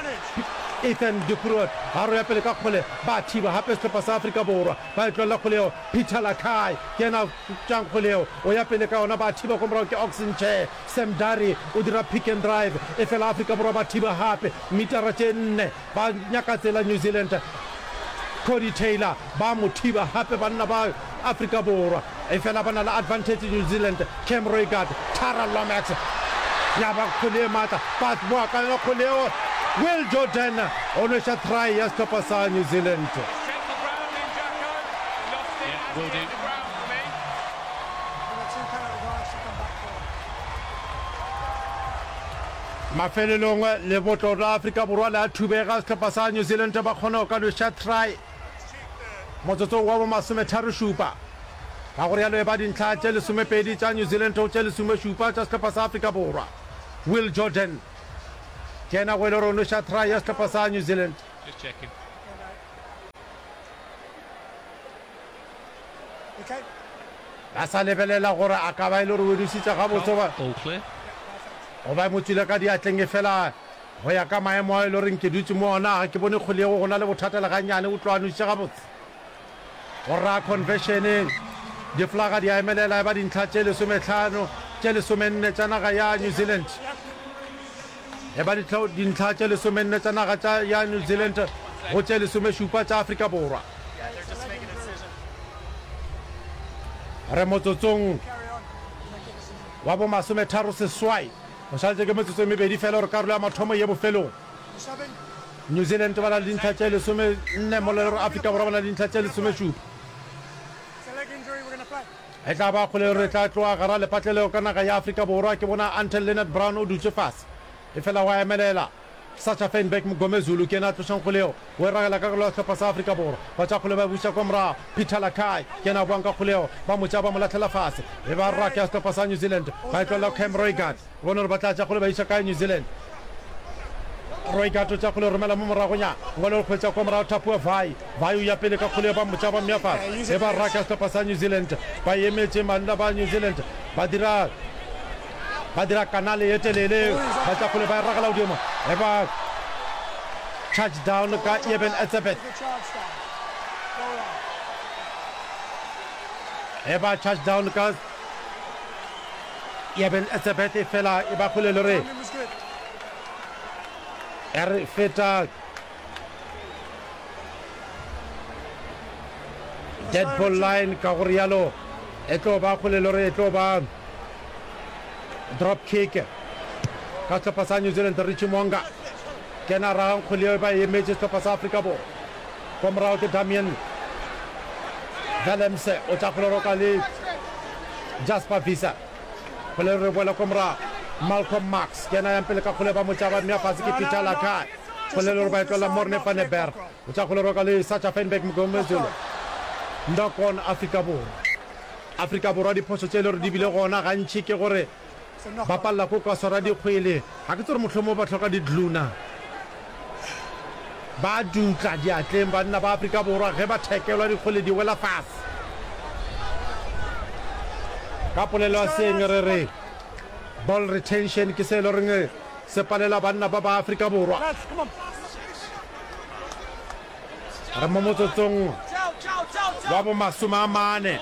Ethan de Groot a roya pele ka kgole, ba thiba gape sehlopha sa Afrika Borwa, ba e tlolela kgole yeo. Peter Lakai ke yena a tšang kgole yeo, o ya pele ka yona, ba thiba ko morago ke Ox Nche. Sam Darry o dira pick and drive, efela Afrika Borwa ba thiba gape metara tše nne, ba nyaka tsela New Zealand. Cody Taylor ba mo thiba gape banna ba Afrika Borwa, efela ba na le advantage New Zealand. Cam Roigard, Tara Lomax, ya ba kgwele e matla, ba boa ka yona kgwele yeo. Will Jordan o nweša try ya sehlopha sa New Zealand. Mafelelong lebotlo la Afrika Borwa le a thubega, sehlopha sa New Zealand ba kgona go ka nweša try motsotsong wa bo masometharo-šupa. Ka go realo e ba dintlha tše lesomepedi tša New Zealand go tše lesomešupa tša sehlopha sa Afrika Borwa. Will Jordan ke yena go e le gore o nweša try ya sehlopha sa New Zealand. Ba sa lebelela gore a ka ba e le gore o e nwešitše gabotse goba goba e mo tšwile ka diatleng, efela go ya ka maemo ao e le goreng ke dutše mo ona, ga ke bone kgwele yeo go na le bothata le gannyane. O tloga a nwešitše gabotse. Go ra conversion, diflaga di a emelela e ba dintlha tše lesomehlano, tše lesomenne tša naga ya New Zealand. E ba dintlha tše lesomenne tša naga tša ya New Zealand go tše lesomešupa tša Afrika Borwa. Re motsotsong wa bo masometharo seswai, go šaletše ke metsotso e mebedi fela gore karolo ya mathomo e ye bofelong. New Zealand ba na le dintlha tše lesomenne mola e le gore Afrika Borwa ba na le dintlha tše lesomešupa. E tla ba kgole re tla tloga gara lepatlelo ka naga ya Afrika Borwa. Ke bona Anton Lienert-Brown o dutše fase, efela wa emelela. Sacha Feinberg Mngomezulu ke yena a tlošang kgole yeo, o e ragela ka karolo ya sehlopha sa Afrika Borwa. Ba tša kgole ba e buša kwa morago. Peter Lakai ke yena a boang ka kgole yeo, ba mo tšea ba mo lahlela fase. E ba ruck ya sehlopha sa New Zealand, ba e tlolela Cam Roigard. Re bone gore ba tla tša kgole ba iša kae New Zealand. Roigard o tša kgole o romela mo moragonyana. Ngwale o hwetša kwa morago Thapua Vai. Vai o ya pele ka kgole ba mo tša ba mmea fase. E ba ruck ya sehlopha sa New Zealand. Ba emetše banna ba New Zealand ba dira ba dira kanale ye telele. Ba tša kgole ba e ragela godimo. E ba charge down ka Eben Etzebeth. E ba charge down ka Eben Etzebeth efela e ba kgole le re e re feta dead ball line ka go rialo e tlo ba kgole le re e tlo ba drop kick ka sehlopha sa New Zealand. Richie Monga ke yena a ragang kgwele yeo ba e emetše sehlopha sa Afrika Borwa. Kwa morago ke Damian Willemse o tša kgwele roka le Jasper Visser. Kgwele re boela kwa morago. Malcolm Marx ke yena yang pele ka kgwele ba mo tša ba mmea fase ke Peter Lakai. Kgwele le gore ba e tlolela Morne van der Berg. O tša kgwele roka le Sacha Feinberg Mngomezulu. Knock on Afrika Borwa. Afrika Borwa diphošo tše e le gore di bile gona gantši ke gore ba palela ko ka swara dikgwele. Ga ke tsebe gore mohlomongwe ba hloka di-glue na. Ba dutla diatleng banna ba Afrika Borwa ge ba thekelwa dikgwele di wela fase. Ka polelo ya seeng re re ball retention ke se e le goreng se palela banna ba ba Afrika Borwa. Re mo motsotsong wa bo masome a mane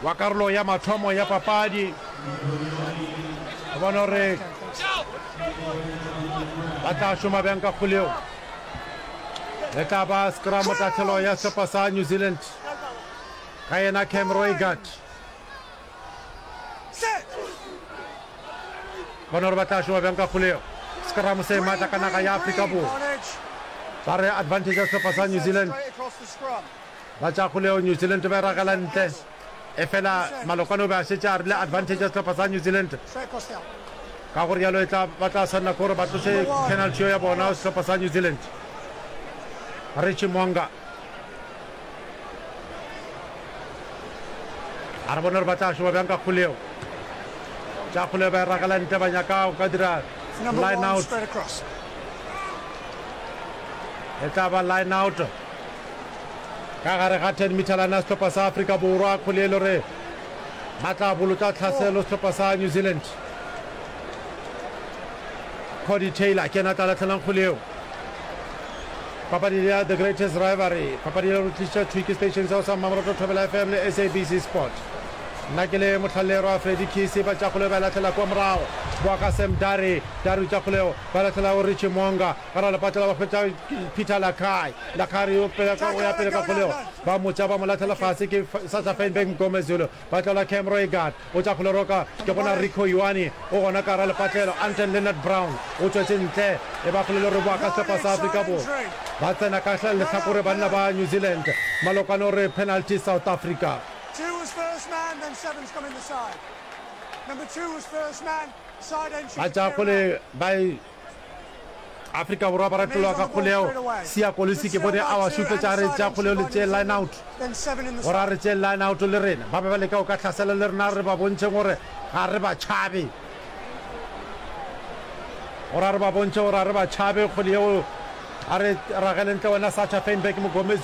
wa karolo ya mathomo ya papadi. Re bone gore ba tla šoma bjang ka kgwele yeo. E tla ba scrum tahlelo ya sehlopha sa New Zealand ka yena Cam Roigard. Bona gore ba tla šoma bjang ka kgwele yeo. Scrum se matla ka naga ya Afrika Borwa. Ba re advantage ya sehlopha sa New Zealand. Ba tša kgwele yeo New Zealand ba e ragela ntle. Efela Malokwane o be a šetše a rile advantage ya sehlopha sa New Zealand. Ka go rialo e tla ba tla swanela ke gore ba tloše penalty yeo ya bona sehlopha sa New Zealand. Richie Mo'unga a re bone gore ba tla šoma bjang ka kgwele yeo. Tša kgwele ba e ragela ntle ba nyaka go ka dira line out. E tla ba line out ka gare ga ten meter line ya sehlopha sa Afrika Borwa. Kgwele e le gore ba tla bolotša tlhaselo sehlopha sa New Zealand. Cody Taylor ke yena a tla lahlelang kgwele yeo. Papadi ya The Greatest Rivalry, papadi ya re tliša thwi ke station sa sa Mmamoratwa Thobela FM le SABC Sport. Nna ke le mohlallerwa Freddy Kisi, ba tša kgoleo ba e lahlela kua morago. Boa ka Sam Dare, Dare o tša kgoleo, ba lahlela go Richie Mo'unga. Ka ra lepatlela ba hwetša Peter Lakai, Lakai o pele ka, o ya pele ka kgoleo, ba mo tša ba mo lahlela fase ke Sacha Feinberg Mngomezulu. Ba tlola Cam Roigard, o tša kgole roka, ke gona Rico Ioane o gona ka gara lepatlelo, Anton Lienert-Brown o tšwetše ntle, e ba kgole le re boa ka sehlopha sa Afrika Borwa. Ba tsena ka lehlakore banna ba New Zealand, Malokwane o re penalty South Africa. Ba tša kgole ba e. Afrika Borwa ba retolwa ka kgoleo. Siya Kolisi ke bone a ba šupetša a re tšea kgoleo le tšee line out. Gore a re tšee line out le rena. Ba be ba leka go ka hlasela le rena re ba bontšheng gore ga re ba tšhabe. Gore a re ba bontšhe gore ga re ba tšhabe kgole yeo a re ragele ntle wena Sacha Feinberg Mngomezulu.